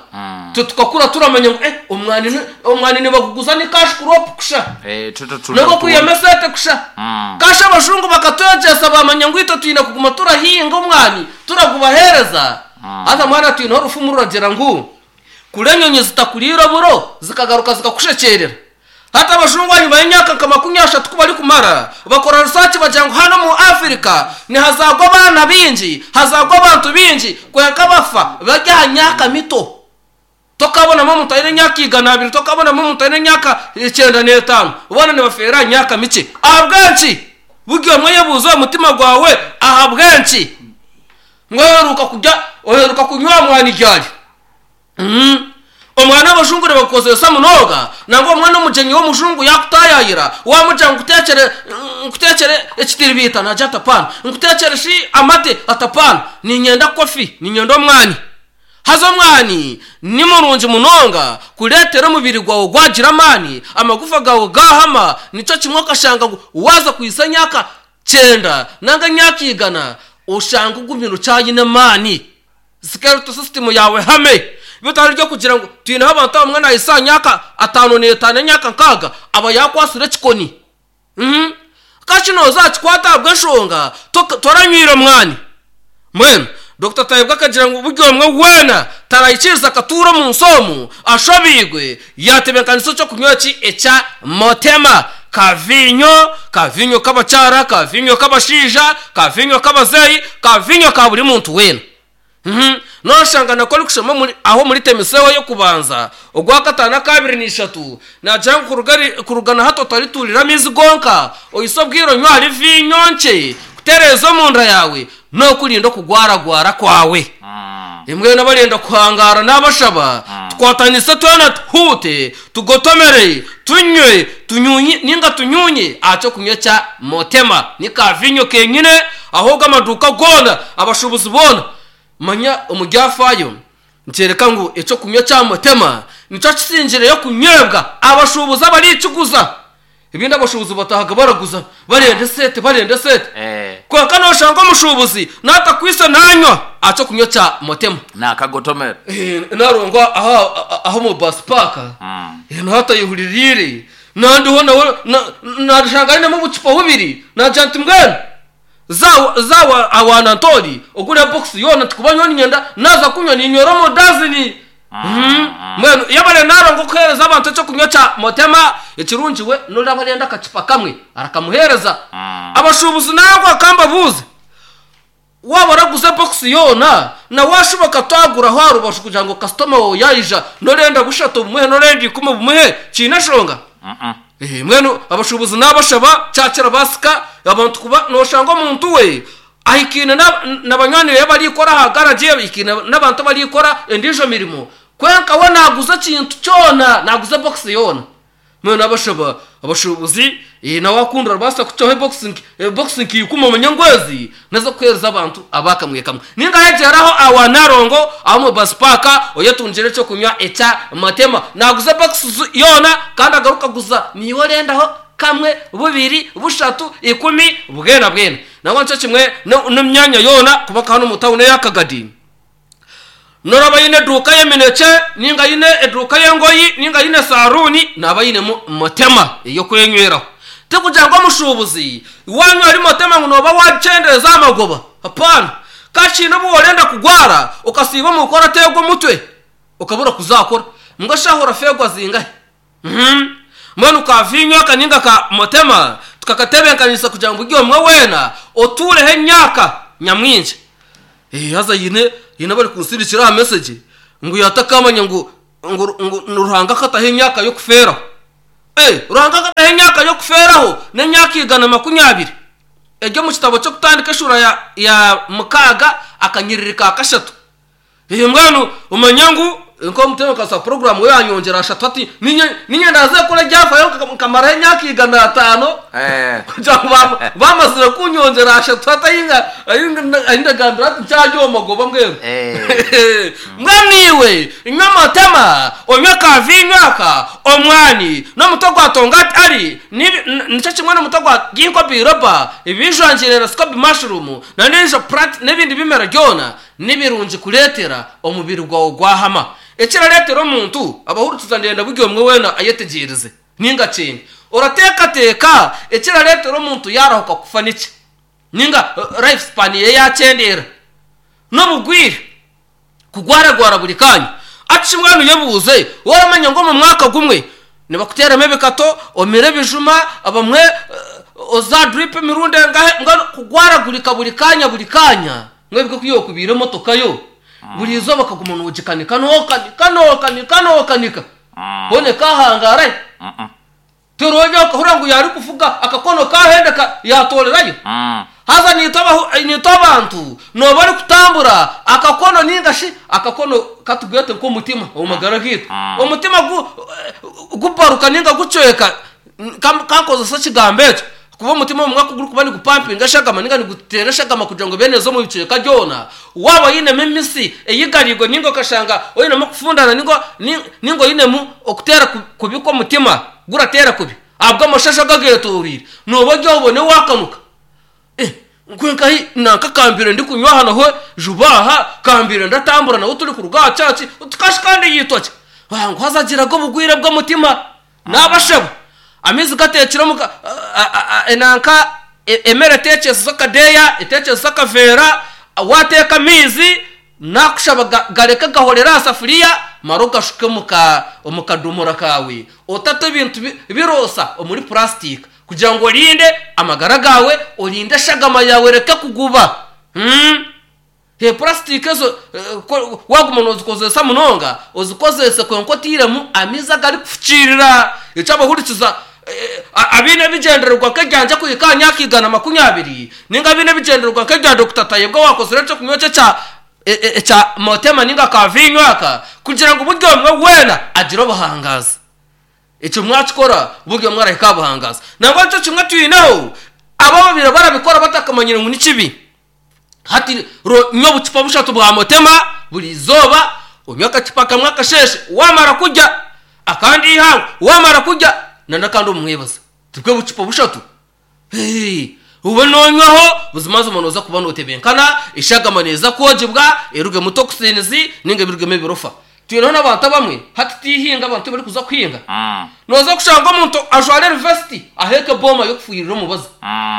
L: twe tukakura turamanya ngu eh, omwani ni- omwani nibaguguza ni cash crop kusha
K: Eh, twe tutunda
L: nogwo kwihamu
K: butundu.
L: esente kusha Kasha abajungu bakatwegyesa bamanya ngu itwe twine kuguma turahinga omwani turagubaheereza haza mwana twineho orufumu ruragira ngu kuri enyonyi zitakuriire oburo zikagaruka zikakushekyerera Hati abajungu ahanyima y'emyaka nka 30 ku barikumara, bakora risaaki bagira ngu hanu omu Afirika nihazaarwa abaana baingi, hazaarwa abantu baingi kwonka bafa bari aha myaka mito. Tokabonamu omuntu aine emyaka 200, tokabonamu omuntu aine emyaka 95, boona nibafeera aha myaka mikye. Ahabw'enki? Buri omwe oyebuuze omu mutima gwawe ahabw'enki? Ngu oheruka kurya, oheruka kunywa aha mwani ryari? Omwana abajungu nibagukozesa munonga nangwa obumwe n'omugyenyi w'omujungu yaakutaayaayira waamugira ngu nkuteekyere nkuteekyere ekitiribiita naagira ati apaana, nkuteekyere shi amate ati apaana, niinyenda kofi, niinyenda omwani. Haza omwani ni murungi munonga kureetera omubiri gwawe gwagira amaani, amagufa gaawe gaahama, nikyo kimwe okashanga ngu waaza kuhitsya emyaka kyenda nanga emyaka igana oshanga ogumire okyayine amaani. Skeletal system yaawe ehame. Bitari ry'okugira ngu twineho abantu abamwe nahisa aha myaka 55 emyaka 60 aba yaakwatsire ekikoni. Uhmm. Ka shi nooza aha kikwata ahabw'enshonga toranywire mwani. Mbwenu Dokita Tayebwa akagira ngu buri omwe weena taraikiriza akatuura omu nsi omu ashobeirwe yaatebeekanisa eky'okunywa eki ekya Motema ka viinyo, ka viinyo k'abakyara, ka viinyo k'abashaija, ka viinyo k'abazeeyi, ka viinyo ka buri muntu weena. Nooshanga na ku orikushoma omuri aho omuri Temiseeho ey'okubanza, ogwakataano akaabiri na ishatu, naagira ngu kuruga kuruga na hati otarituurira amaizi gonka, oise obwire onywe ahari viinyo nkye kutereeza omunda yaawe n'okurinda okugwaragwara kwawe. Mbwenu abarenda kuhangaara naabashaba tukwatanise twena tuhuute, tugotomere, tunywe, tunyuunye nainga tunyuunye aha ky'okunywa ekya Motema. Ni ka viinyo kenyine ahobwe amaduuka goona, abashuubuzi boona. Manya omu byafaayo nikyoreka ngu eky'okunywa ekya Motema nikyo kisingireyo kunywebwa abashuubuzi abarikiguza. Ebindi abashuubuzi bataahaga baraguza barenda esente barenda esente. Kwonka nooshanga omushuubuzi naatakwitse naanywa aha ky'okunywa kya Motema.
K: Naakagotomera.
L: Narongwa aha omu bus park nawe atayehuririire nandiho nawe naashanga ainemu obucupa bubiri naagira nti mbwenu za za awa Anatoli ogure box yoona tikuba nyowe niinyenda naaza kunywa ninywera omu dazini. Mbwenu yebare Nalongo kuheereza abantu eky'okunywa kya Motema ekirungi we n'oraba arenda akacupa kamwe arakamuheereza. Abashuubuzi nangwa ka mbabuuze, waaba oraguza ebokisi yoona na waashuba okatwaguraho aha rubaju kugira ngu kasitoma waawe yaija n'orenda bushatu obumuhe n'orenda ikumi obumuhe kiine enshonga? Mbwenu abashuubuzi naabashaba kyakirabaasika abantu kuba nooshanga omuntu we Ahikaine na banywani be abarikukora aha garagi, ahikaine n'abantu abarikukora endiijo mirimo, kwonka we naaguza ekintu kyona, naaguza ebokisi yoona. Mbwenu abashaba abashuubuzi, nawe akunda orabaasa kucwaho ebokisi nka ikumi omanye ngu ezi n'ez'okuheereza abantu aba kamwe kamwe. Nainga yegyeraho awa Nalongo aho omu bus park oyetungire eky'okunywa ekya Matema. Naaguza ebokisi yoona kandi agaruka aguza naiwe orendaho. Kamwe, bubiri, bushatu, ikumi, bwena bwena. Nangwa nikyo kimwe n'emyanya yoona kuba nka hanu omu tawuni eya Kagadi. N'oraba aine eduuka y'eminekye, nainga aine eduuka y'engoyi, nainga aine saaruuni, naaba ainemu motema ey'okwenyweraho. Tikugira ngu omushuubuzi waanywa ahari motema ngu nooba waakyendeeza aha magoba. Hapaana. Ka kiine obu orenda kugwara okasiiba omu ka orateegwa omutwe okabura kuza kukora. Mbwenu shaaha orafeegwa zingahi? Mbwenu ka viinyo aka nainga ka motema tukakatebeekanisa kugira ngu buri omwe weena otuureho emyaka nyamwingi. Haza haine abarikunsindikira aha mesegi ngu yaatakamanya ngu ngu Ruhanga akataho emyaka y'okufeeraho. Ruhanga akataho emyaka y'okufeeraho n'emyaka 120. Eri omu kitabo ky'Okutandika eshuura ya mukaaga akanyiriri ka kashatu. Mbwenu omanye ngu nk'omutebeekanisa wa puroguraamu we yaanyongyera ashatu ati, Niinye ndaaze kukora ebyafaayo nkamaraho emyaka 500 kugira ngu baamazire kuunyongyera ashatu hati ahi ndagambira hati nkyari omu magoba mbwenu. Mbwenu iwe nywa amatama, onywe ka viinyo aka, omwani, n'omutwe gwa tongati ari, nikyo kimwe n'omutwe gwa ginkgo biloba, ebijwangire na sikobi mashurumu, na n'endiijo puranti n'ebindi bimera byona. Ni birungi kureetera omubiri gwawe gwahama. Ekirareetera omuntu abahurikiza ndenda buri omwe weena ayetegyereze ninga kyenge. Orateekateeka ekirareetera omuntu yaarahuka kufa niki? Ninga life span ye yaakyendeera? N'obugwire, kugwaragwara buri kaanya. Ati shi mbwenu yebuuze, waramanya ngu omu mwaka gumwe nibakuteeramu ebikato, omire ebijuma, abamwe oza drip emirundi engahi, mbwenu kugwaragurika buri kaanya buri kaanya. Mbwenu ku yookubaire emotoka yo, buri izooba okaguma noogikanika, nookanika, nookanika, nookanika, hoona ekaahangaarayo? Toroonya okahurira ngu yaarikuvuga akakono kaahendeka yaatoorerayo? Haza naitwe naitwe abantu nooba orikutambura akakono nainga shi akakono katugwete nk'omutima omu magara gaitu. Omutima gu gubaruka nainga gucweka Ka nkozese ekigambo ekyo, ahakuba omutima obumwe ku gurikuba nigupampinga eshagama nainga niguteera eshagama kugira ngu ebe neeza omu bicweka byona, waaba oinemu emisi eyigariirwe nainga okashanga oinemu okufundana nainga oinemu okuteera kubi kw'omutima gurateera kubi ahabw'amashasha ago ageetooroire, nooba ori aho obone waakanuka. Kwonka hi nanka kambire ndikunywa aha naho juba aha kambire ndatambura nawe turi kuruga aha church oti kashi kandi yaitwa ki? Ngu haza agiraga obugwire bw'omutima nabashaba amaizi gatekire omu nanka emere etekyesize akadeeya etekyesize akaveera wateeka amaizi Nakushaba gareke gahorere aha safuriya mara ogashuke omu kadomora kaawe. Otate ebintu biroosa omuri purasitika kugira ngu orinde amagara gaawe, orinde eshagama yaawe ereke kuguba. Purasitika ezo waaguma noozikozesa munonga, ozikozese kwonka otairemu amaizi agarikufukiirira. Eki abahurikiza abaine ebigyendererwa nk'ebyangye kuhika aha myaka 120, Ninga abaine ebigyendererwa nk'ebya Dokita Tayebwa owaakozire eky'okunywa kye ekya ekya Motema ninga ka viinyo aka kugira ngu buri omwe weena agire obuhangaazi. Ekyo mwakikora buri omwe arahika aha buhangaazi. Nangwa nikyo kimwe twineho abo ababaire barabikora batakamanyire ngu ni kibi. Hati nywa obucupa bushatu bwa Motema buri izooba, onywe akacupa kamwe akasheeshe waamara kurya, akandi eihangwe waamara kurya n'akandi omu mwebazo. Tibwo bucupa bushatu? Obe noonywaho, buzimazima nooza kuba nootebenkana, eshagama neeza kwogibwa erugemu toxins ninga ebirugemu ebirofa. Twineho n'abantu abamwe hati tiihinga abantu tibarikuza kuhinga. Nooza kushanga omuntu ajware vesiti aheeke ebooma y'okufuhirira omubazi.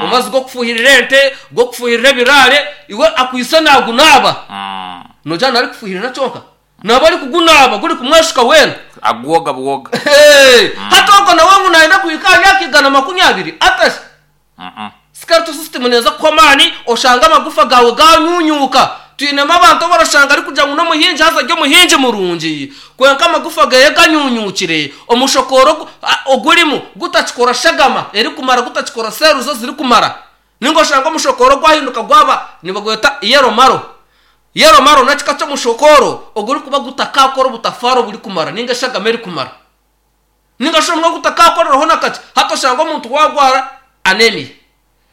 L: Omubazi gw'okufuhirira ente, gw'okufuhirira ebiraare, iwe akwaitse naagunaaba. Noogira ngu arikufuhirira kyonka? Naaba arikugunaaba gurikumweshuka weena.
K: Agwoga bwoga.
L: Hati ogwo nawe ngu nayenda kuhika aha myaka 120 ata shi? Skeletal system neeza kukuha amaani oshange amagufa gaawe gaanyuunyuuka. Twinemu abantu abu orashanga arikugira ngu n'omuhingi haza ari omuhingi murungi kwonka amagufa geeye ganyuunyuukire, omushokooro ogurimu gutakikora shagama erikumara gutakikora cells ezirikumara. Ninga oshange omushokooro gwahinduka gwaba nibagweta yellow marrow. Yellow marrow n'ekika ky'omushokooro ogurikuba gutakaakora obutafaari oburikumara ninga eshagama erikumara. Ninga shi omwe ogutakaakoreraho na kakye. Hati oshange omuntu waagwara anemia,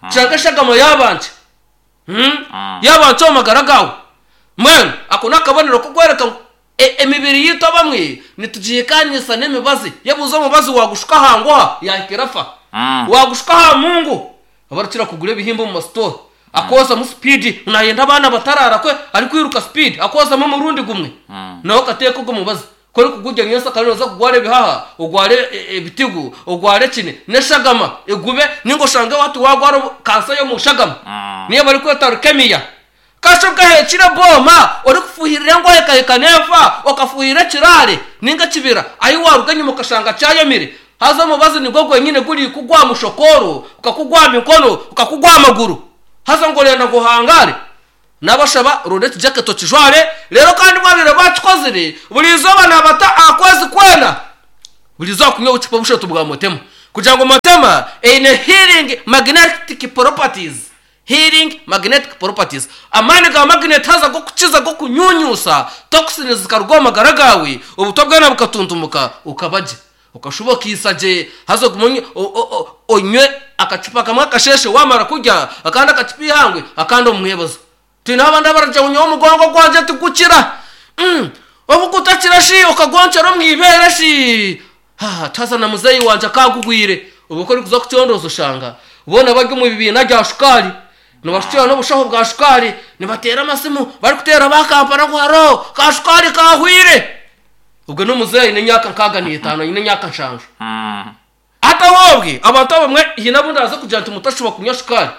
L: oshange eshagama yaaba nkye, yaaba nkye omu magara gaawe. Mbwenu ako n'akabonero k'okworeka ngu emibiri yaitu abamwe nitugihikaanisa n'emibazi. Yebuuze omubazi waagushuka aha nguha yaahika erafa. Waagushuka aha mungu, abarikukira kugura ebihimba omu masitoora, akoozamu sipiidi, naayenda abaana bataraara kwe arikwiruka sipiidi, akoozamu omurundi gumwe, nawe akateeka ogwo mubazi. Ku orikugurya nyentsya kare nooza kugwara ebihaha, ogware ebitigu, ogware ekine, n'eshagama egube, nainga oshange hati waagwara kansa y'omu shagama, niyo barikweta leukemia. Kasha okaheekire ebooma orikufuuhirira engohe ekahika n'efa, okafuuhirira ekiraare nainga ekibira, ahi waaruga enyima okashanga kyayomire. Haza omubazi nigwo gwenyine gurikugwa aha mushokooro, gukakugwa aha mikono, gukakugwa aha maguru. Haza ngu orenda ngu ohangaare? Naabashaba ronda ekijaketi okijware, reero kandi bwabaire baakikozire, buri izooba naabata aha kwezi kwena, buri izooba kunywa obucupa bushatu bwa Motema, kugira ngu Motema eine healing magnetic properties, healing magnetic properties, amaani ga magnet haza g'okukiza g'okunyunyuusa toxins zikaruga omu magara gaawe, obutwa bwena bukatuntumuka okaba gye. Okashuba okaisa gye, haza ogume onywe akacupa kamwe akasheeshe waamara kurya, akandi akacupa eihangwe, akandi omu mwebazo. Twineho abandi abaragira ngu nyowe omugongo gwangye tigukira. Obu gutakira shi okagonkyera omu ibeere shi? Haa, haza na muzeeyi wangye akaagugwire. Obwo ku orikuza kucondooza oshanga boona bari omu bibiina bya shukaari, nibashukirana n'obushaho bwa shukaari, nibateera amasimu barikuteera aba Kampala ngu haroo, ka shukaari kaahwire. Ogwe n'omuzeeyi aine emyaka nkaaga n'etaano, aine emyaka nshanju. Hati obwe abantu abamwe haine abu ndaaze kugira nti mutashuba kunywa shukaari.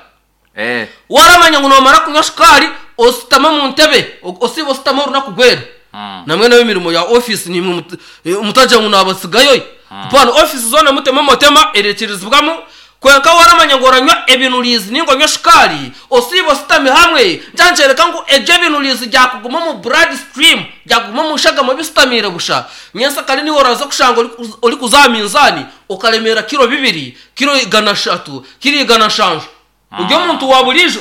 L: Waaramanya ngu noomara kunywa shukaari oshutame omu ntebe, osiibe oshutame orunaku rwena. Namwe n'ab'emirimo ya ofiisi naimwe mutagira ngu naabatsigayo. Hapana, ofiisi zoona mutemu omotema ereekirizibwamu, Kwonka waramanya ngu oranywa ebinuriizi ninga onywe shukaari, osiibe ositami hamwe, kyankyoreka ngu ebyo ebinuriizi byakuguma omu blood stream, byakuguma omu shagama bisitamiire busha. Nyentsya kare niiwe oraza kushanga orikuza aha minzaani okaremeera kiro bibiri, kiro 300, kiro 700. Ori omuntu wa buriijo?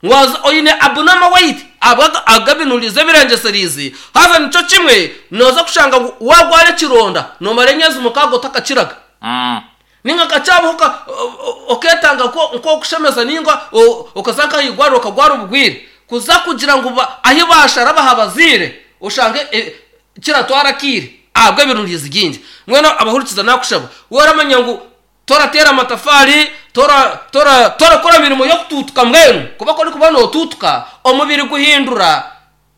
L: Waaza oine abnormal weight ahabwa ag'ebinuriizi ebirengyesereize, haza nikyo kimwe nooza kushanga ngu waagwara ekironda noomara emyezi mukaaga otakakiraga. Nainga nka kyabaho okeetanga nk'okushemeza nainga okaza nk'aha irwariro okagwara obugwire, kuza kugira ngu ahi baashara bahabaziire oshange kiratwara akaire ahabw'ebirungizi bingi. Mbwenu abahurikiza naakushaba waramanya ngu torateera amatafaari, torakora mirimo y'okutuutuka mbwenu kuba ku orikuba nootuutuka omubiri guhindura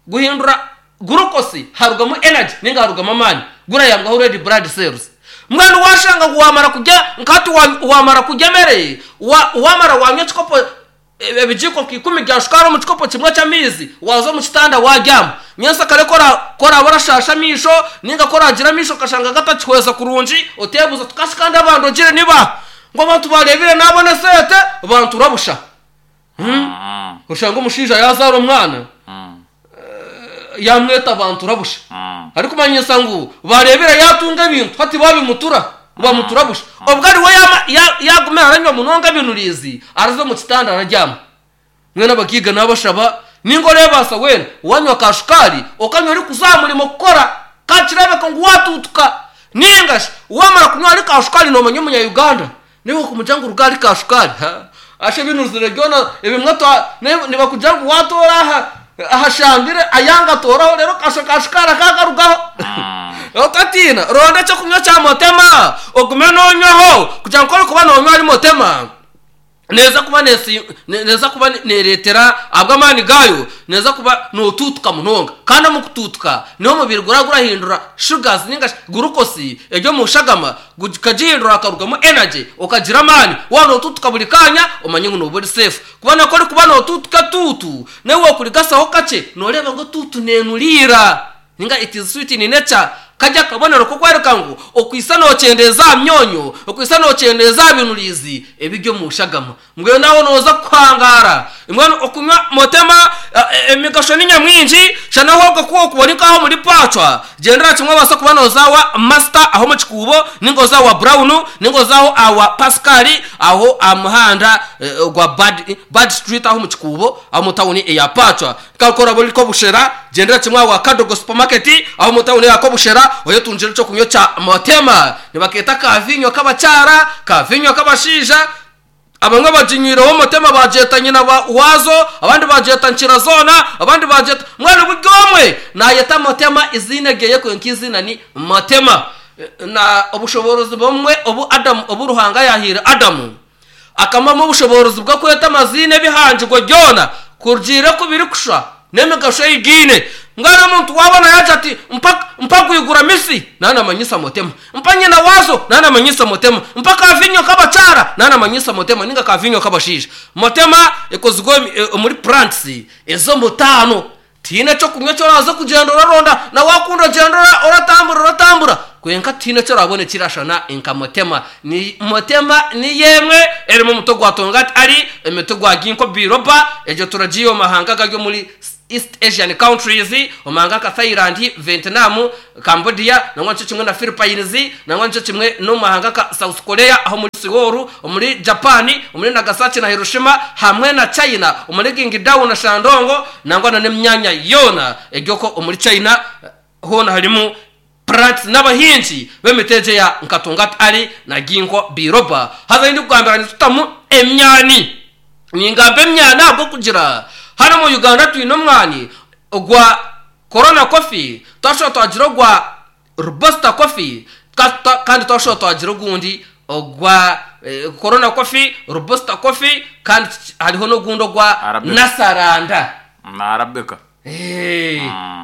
L: Guhindura gurukosi harugamu energy ninga harugamu amaani gurayambwaho red blood cells. Mbwenu washanga ngu wamara kurya nka hati wamara kurya emere wamara wanywa ekikopo ebijiiko nka ikumi bya shukaari omu kikopo kimwe ky'amaizi waza omu kitanda wabyama nyentsya kare ku oraba orashaasha amaisho ninga ku oragira amaisho okashanga gatakihweza kurungi otebuuza oti kashi kandi abandogire nibaha ngu abantu bareebire nabona esente bantura busha. Oshanga omushaija yaazaara omwana yaamweta bantura busha arikumanyisa ngu baareebire yaatunga ebintu hati baabimutura bamutura busha. Obwo ariwe yaaguma aranywa munonga ebinuriizi araza omu kitanda arabyama. Mbwenu abagaiga naabashaba nainga oreebaasa weena waanywa ka shukaari okanywa orikuza aha murimo kukora ka kireebeka ngu waatuutuka nainga shi waamara kunywa ahari ka shukaari noomanya omunya Uganda Niiwe okumugira ngu ruga ahari ka shukaari, ha, asha ebinuzire byona ebimwe twa, nibakugira ngu watoora aha ahashambire ayanga atooraho reero kasha ka shukaari akagarugaho. Otatiina, ronda ekyokunywa kya motema ogume noonywaho kugira ngu ku orikuba noonywa ahari motema, neeza kuba neesi neeza kuba neereetera ahabw'amaani gaayo neeza kuba nootuutuka munonga. Kandi omu kutuutuka niho omubiri guraba gurahindura sugars ninga shi gurukosi eri omu shagama gukagihindura hakarugamu energy okagira amaani. Waaba nootuutuka buri kaanya omanye ngu nooba ori safe. Kuba na ku orikuba nootuutuka etuutu, naiwe waakurigasaho kakye nooreeba ngu etuutu neenuriira. Ninga it is sweet in nature, kari akabonero k'okworeka ngu okwitsa nokyendeeza aha myonyo, okwitsa nokyendeeza aha binuriizi ebiri omu shagama. Mbwenu aho noza kuhangaara. Mbwenu okunywa motema emigasho ni nyamwingi, shana ahobwe ku okuba ori nk'aha omuri Pacwa, gyendera kimwe obaase kuba noza awa Master aho omu kikuubo, ninga oze awa Brown, ninga oze aho awa Pascal, aho aha muhanda gwa Bad Street aho omu kikuubo, aho omu tawuni eya Pacwa. Kandi ku oraabe ori Kobushera, gyendera kimwe aha Kadogo Supermarket aho omu tawuni ya Kobushera oyetungire eky'okunywa kya Motema. Nibakeeta ka viinyo k'abakyara, ka viinyo k'abashaija. Abamwe baginywireho Motema baagyeta nyina waazo, abandi baagyeta nkira zoona, abandi baagyeta. Mbwenu buri omwe naayeta Motema eiziina ryeye kwonka eiziina ni Motema. Na obushoboorozi bumwe obu Adamu, obu Ruhanga yaahaire Adamu, akamuhamu obushoboorozi bw'okweta amaziina ebihangirwe byona kurugiirira oku birikushusha n'emigasho ei biine. Mbwenu omuntu waaba naagira ati, Mpa, mpa gwigura misi, naaba naamanyisa mutema. Mpa nyina waazo, naaba naamanyisa mutema. Mpa kaaviinyo k'abakyara, naaba naamanyisa mutema, nainga kaaviinyo k'abashaija. Mutema ekozirwe omuri plants ez'omutaano. Tihaine eky'okunywa eki oraaze kugyenda oraronda, na waakunda ogyende oratambura oratambura, kwonka tihaine eki oraabone ekirashana nka Mutema. Ni Mutema niyo emwe erimu omuti ogwa Tongat Ali, emiti gwa Ginkgo biloba, egyo turagiiha omu mahanga agari omuri East Asian countries, omu mahanga nka Thailand, Vietnam, Cambodia, nangwa nikyo kimwe na Philippines, nangwa nikyo kimwe n'omu mahanga nka South Korea aho omuri Seoul, omuri Japan, omuri Nagasaki na Hiroshima, hamwe na China omuri Qingdao na Shandong, nangwa na n'emyanya yoona eri okwo omuri China hoona harimu plants n'abahingi b'emiti egyo eya nka Tongat Ali na Ginkgo biloba. Haza ahi ndikugambira nitutamu emyani. Ningamba emyani ahabw'okugira hanu omu Uganda twine omwani ogwa Corona Coffee, twashuba twagira ogwa Robusta Coffee, kandi twashuba twagira ogundi ogwa Corona Coffee, Robusta Coffee, kandi hariho n'ogundi ogwa
K: Arabica.
L: Nasaranda.
K: Na Arabica.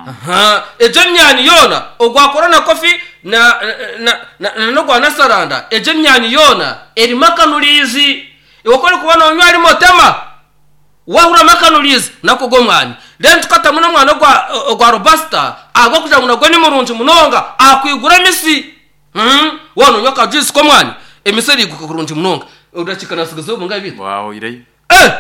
L: Aha, egyo emyani yoona, ogwa Corona Coffee na na na n'ogwa Nasaranda, egyo emyani yoona erimu akanuriizi. Iwe ku orikuba noonywa harimu otema. Waahuramu akanuriizi, nakwo ogwo omwani. Reero tukatamu n'omwani ogwa ogwa robusta ahabw'okugira ngu nagwo ni murungi munonga aha kwigura emisi. Waaba noonywa ka juice k'omwani, emisi eriguka kurungi munonga. Obudakiika naatsigazeho bungahi beitu?
K: Bwahweireyo.
L: Eh!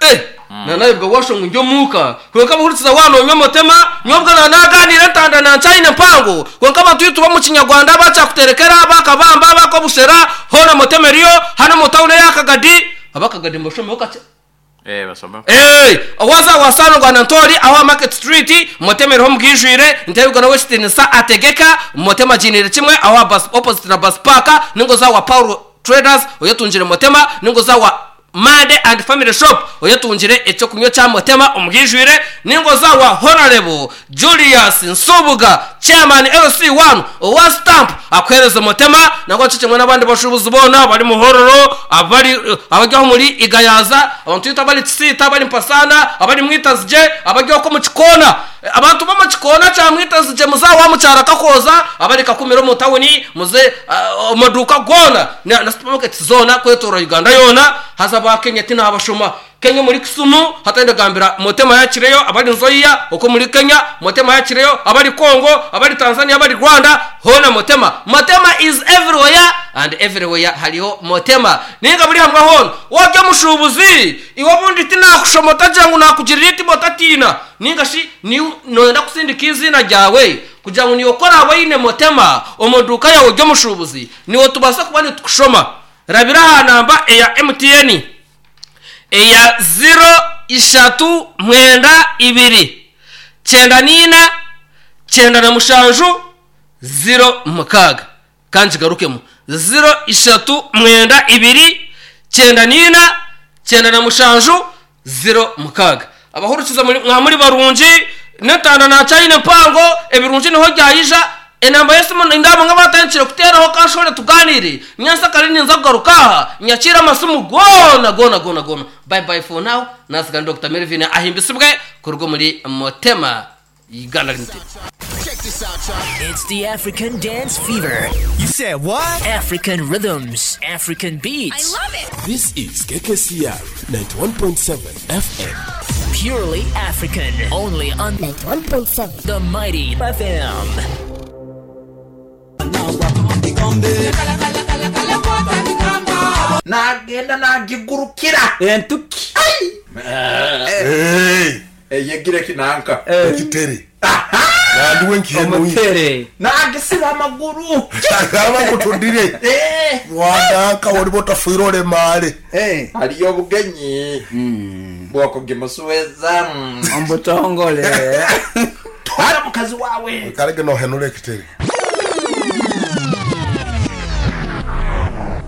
L: Eh! Naanayebwa waashusha ngu ndi omuuka. Kwonka abahurikiza waaba noonywa motema, nyowe obwo naaba naagaaniira entanda na nkyayine mpango. Kwonka abantu ei tuba omu Kinyarwanda abakyakuterekera, abakabamba, abakobushera, hoona motema eriyo, hanu omu tawuni eya Kagadi. Abakagadi nibashomaho kakye.
K: Eh, basomeho.
L: Eh, waaza wa Saalongo na Ntoori aho aha Market Street, motema eriho omubwijwire, Ntebigwa n'owekitiinisa ategeka, motema agiiniire kimwe aho aha bus opposite na bus park, ninga oza wa Paul Traders oyetungire Motema, ninga oza wa Mande and Family Shop oyetungire eky'okunywa kya Motema omubwijwire, ninga oza wa Honarebo Julius Nsubuga Chairman LC1 owa Stamp akuhereze Motema, nangwa nikyo kimwe n'abandi bashuubuzi boona abari Muhororo, abari abari aho omuri Igayaza, abantu beitu abari Kisiita, abari Mpasaana, abari Mwitazigye, abari okwo omu Kikoona. Abantu b'omu kikoona kya Mwitazigye muze aha wa Mukyara Kakooza, abari Kakumiro omu tawuni, muze omu maduuka goona na supamaketi zoona kwetoorora Uganda yoona. Haza aba Kenya tinaabashoma. Kenya omuri Kisumu, hati ndagambira Motema yakireyo, abari Nzoia okwo omuri Kenya, Motema yakireyo, abari Congo, abari Tanzania, abari Rwanda, hoona Motema. Motema is everywhere and everywhere hariho Motema. Nainga buri hamwe hoona. Waaba ori omushuubuzi, iwe obundi tinaakushoma otagira ngu naakugirira eitima otatiina. Nainga shi nooyenda kutsindika eiziina ryawe kugira ngu niiwe ku oraabe oine motema omu duuka yaawe ry'omushuubuzi, niiwe tubaase kuba nitukushoma. Rabira aha namba eya MTN eya ziro ishatu mwenda ibiri kyenda naina kyenda na mushanju ziro mukaaga. Ka ngigarukemu, ziro ishatu mwenda ibiri kyenda naina kyenda na mushanju ziro mukaaga. Abahurikiza muri mwa muri barungi, n'entanda nakyayine mpango, ebirungi niho byayija. Enamba y'esimu nindeeba bamwe batandikire kuteeraho kanshore tugaaniire. Nyentsya kare ninza kugaruka aha nyakiire amasimu goona goona goona goona. Bye bye for now, naasiga ni Dokita Melvin ahimbisibwe kuruga omuri Motema Uganda Limited.
D: It's the African Dance Fever.
C: You said what?
D: African rhythms, African beats.
E: I love it.
G: This is KKCR 91.7 FM.
D: Purely African. Only on
F: 91.7
D: The Mighty FM.
H: Nagenda nagigurukira
M: Entuki.
H: Eyegire kinanka
N: Ekitere. Nandiwe nkihenuye.
M: Omutere.
H: Nagisiba amaguru.
N: Agamba nkutundire. Wandanka woliba otafiire olemaale.
H: Hariyo obugenyi bwokugimusuweza
M: Omubutongole.
H: Twara mukazi wawe.
N: Karege nohenura ekitere.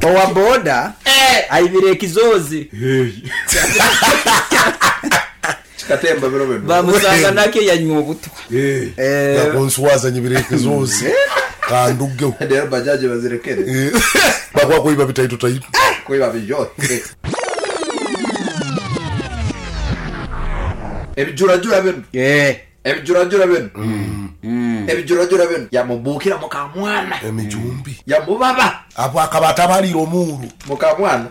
M: Owa boda aibire ekizoozi.
H: Kikatemba biro bino.
M: Bamusanga nakyo yanywa obutwa.
N: Nakunswaza nyibireke zosi kandugeho
H: Rero bajaji bazirekere.
N: Bakwa kuiba bitaito taito.
H: Kuiba bijo. Ebijurajura bino. Ebijurajura bino. Ebijurajura bino. Yamubukira mukamwana.
N: Emijumbi.
H: Yamubaba.
N: Apo akabata balira omuru.
H: Mukamwana.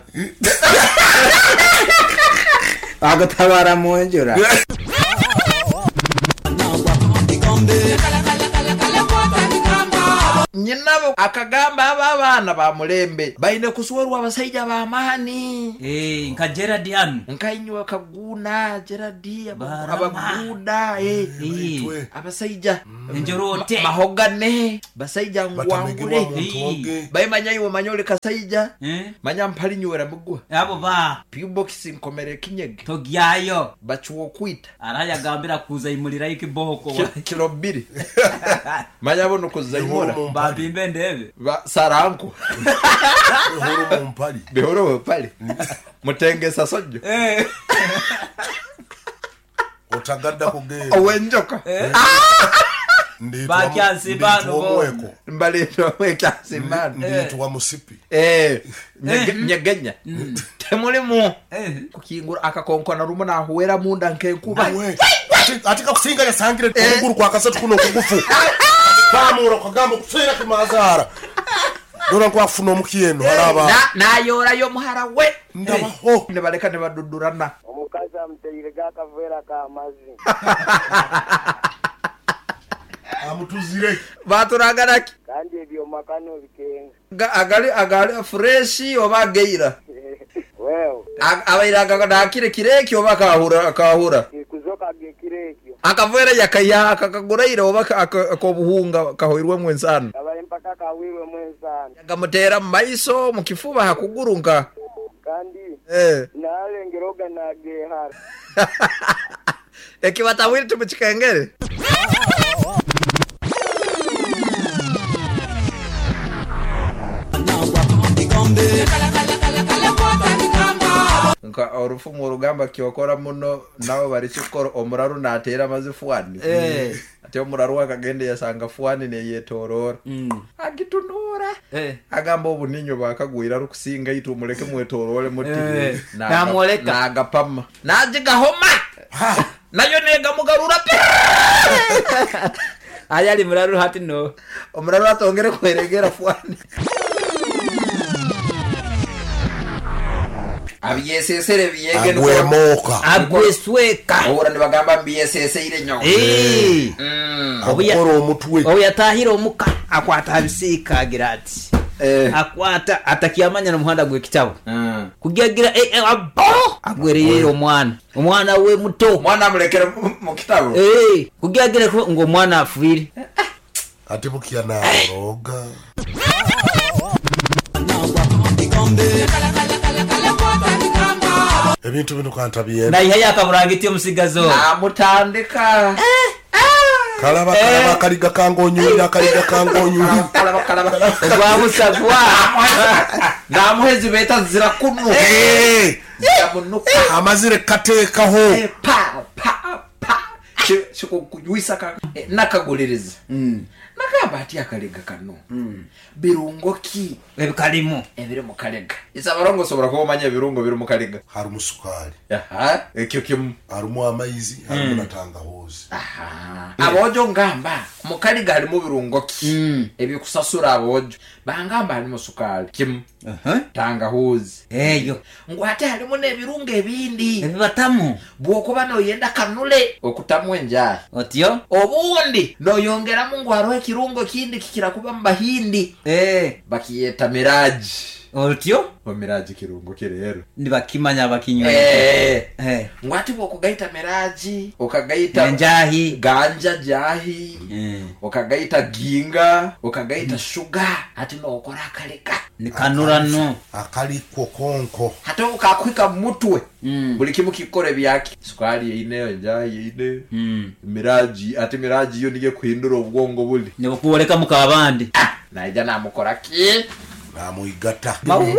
M: Agutabara mu njura.
H: Nyinabo akagamba aba abaana ba mulembe baine kuswerwa abashaija b'amaani.
C: Nka Gerard hanu.
H: Nka inywe Kaguna, Gerard, abaguda, abashaija.
C: Enjorote.
H: Mahogane, basaija ngwangure. Baimanya iwe manya oli kasaija. Manya mpali nywera mugwa.
C: Abo ba.
H: P-box nkomere kinyege.
C: Togyayo.
H: Bachuwa okwita.
C: Arayagambira kuza imulira ikiboko.
H: Kilo 2. Manya bono kuzaimura.
C: Babimbe ndebe.
H: Ba saranku.
N: Bihoro mumpali.
H: Bihoro mumpali. Mutengesa sojo.
N: Otagadda kugenda.
H: Owenjoka.
C: Bakyansimbano.
H: Mbaleetwa mwekyansimbano.
N: Nditwa musipi.
H: Nyegenya. Temulimu. Kukingura akakonkona rumu nahuwera munda nkenkuba.
N: Ati kakusinga yasangire okuguru kwa kasatu kuno okugufu. Pamura kagamba kuseera kimazara. Dora nkwafuna omukieno haraba.
H: Nayorayo muhara we.
N: Ndabaho.
H: Ne baleka ne badudurana.
E: Omukazi amuteire gakavera kamazi.
N: Amutuzire.
H: Baturaganaki.
E: Kandi ebyo makano bikenga.
H: Agali agali fresh oba geira.
E: Wewe.
H: Abaira nakire kireki oba kahura kahura.
E: Kuzoka gekireki.
H: Akavera yakaya akakaguraira oba akobuhunga kahoirwe mwensano.
E: Abale mpaka kawirwe mwensano.
H: Yakamutera mu maiso mu kifuba hakugurunka.
E: Kandi nalengeroga nagehara.
H: Ekibatawiri tumukikengere. Nka orufumu orugamba kyokora muno nabo barikikora omuraru nateera amazi fuani. Ate omuraru akagenda yasanga fuani neyetorora. Agitunura. Agamba obuninyo bakagwira rukusinga itu muleke mwetorore muti.
M: Namwoleka.
H: Nagapama. Najigahoma. Nayo negamugarura pe.
M: Ayali muraru hati no.
H: Omuraru atongere kweregera fuani. Abyesesere byege
N: agwemoka
M: agwesweka
H: ohura nibagamba mbyeseseire nyo
N: akora omutwe
M: obu yatahira omuka akwata abisiika agira ati akwata atakiamanya n'omuhanda gw'ekitabo kugiagira abo agwereyera omwana we muto
H: omwana amulekere mu kitabo
M: kugiagira ngo omwana afiire
N: ati bukia naroga ebintu bino kantabiye
M: na ihaya akaburangiti omusigazo
H: namutandika
N: kalaba kalaba kaliga kangonyulira kaliga kangonyulira
H: kalaba kalaba
M: ogwamusagwa
H: namuhezi beta zira kunu ziramunuka
N: amazire kateekaho
H: pa pa pa kikujuisa nakaguliriza nagamba ati akalega kano birungo ki
M: ebikalimu
H: ebiri mu kalega isabarongo sobora kuba omanya ebirungo biri mu kalega
N: harimu sukaali
H: ekyo kimu
N: harimu amaizi harimu na tangahuzi
H: abojo ngamba mu kalega harimu birungo ki ebikusasura abojo bangamba harimu sukaali kimu tangahuzi
M: eyo
H: ngu ate harimu n'ebirungo ebindi
M: ebibatamu
H: bw'okuba noyenda kanule okutamu enjahi
M: otyo
H: obundi noyongeramu ngu hariho ekirungo kindi kikira kuba mu bahindi bakiyeta miraji
M: otyo
H: omiraji kirungo kirero
M: nibakimanya bakinywa
H: ngu ati bw'okugaita miraji okagaita
M: enjahi
H: ganja jahi okagaita ginga okagaita shuga ati nookora akaleka
M: nikanurano
N: akaliko konko
H: hata ukakwika mutwe buli kimu kikore byaki sukari yeine enjahi yeine miraji ati miraji yo niye kuhindura obwongo buli
M: nibukuoleka mukabandi
H: naija namukora ki
N: namuigata
H: mawe.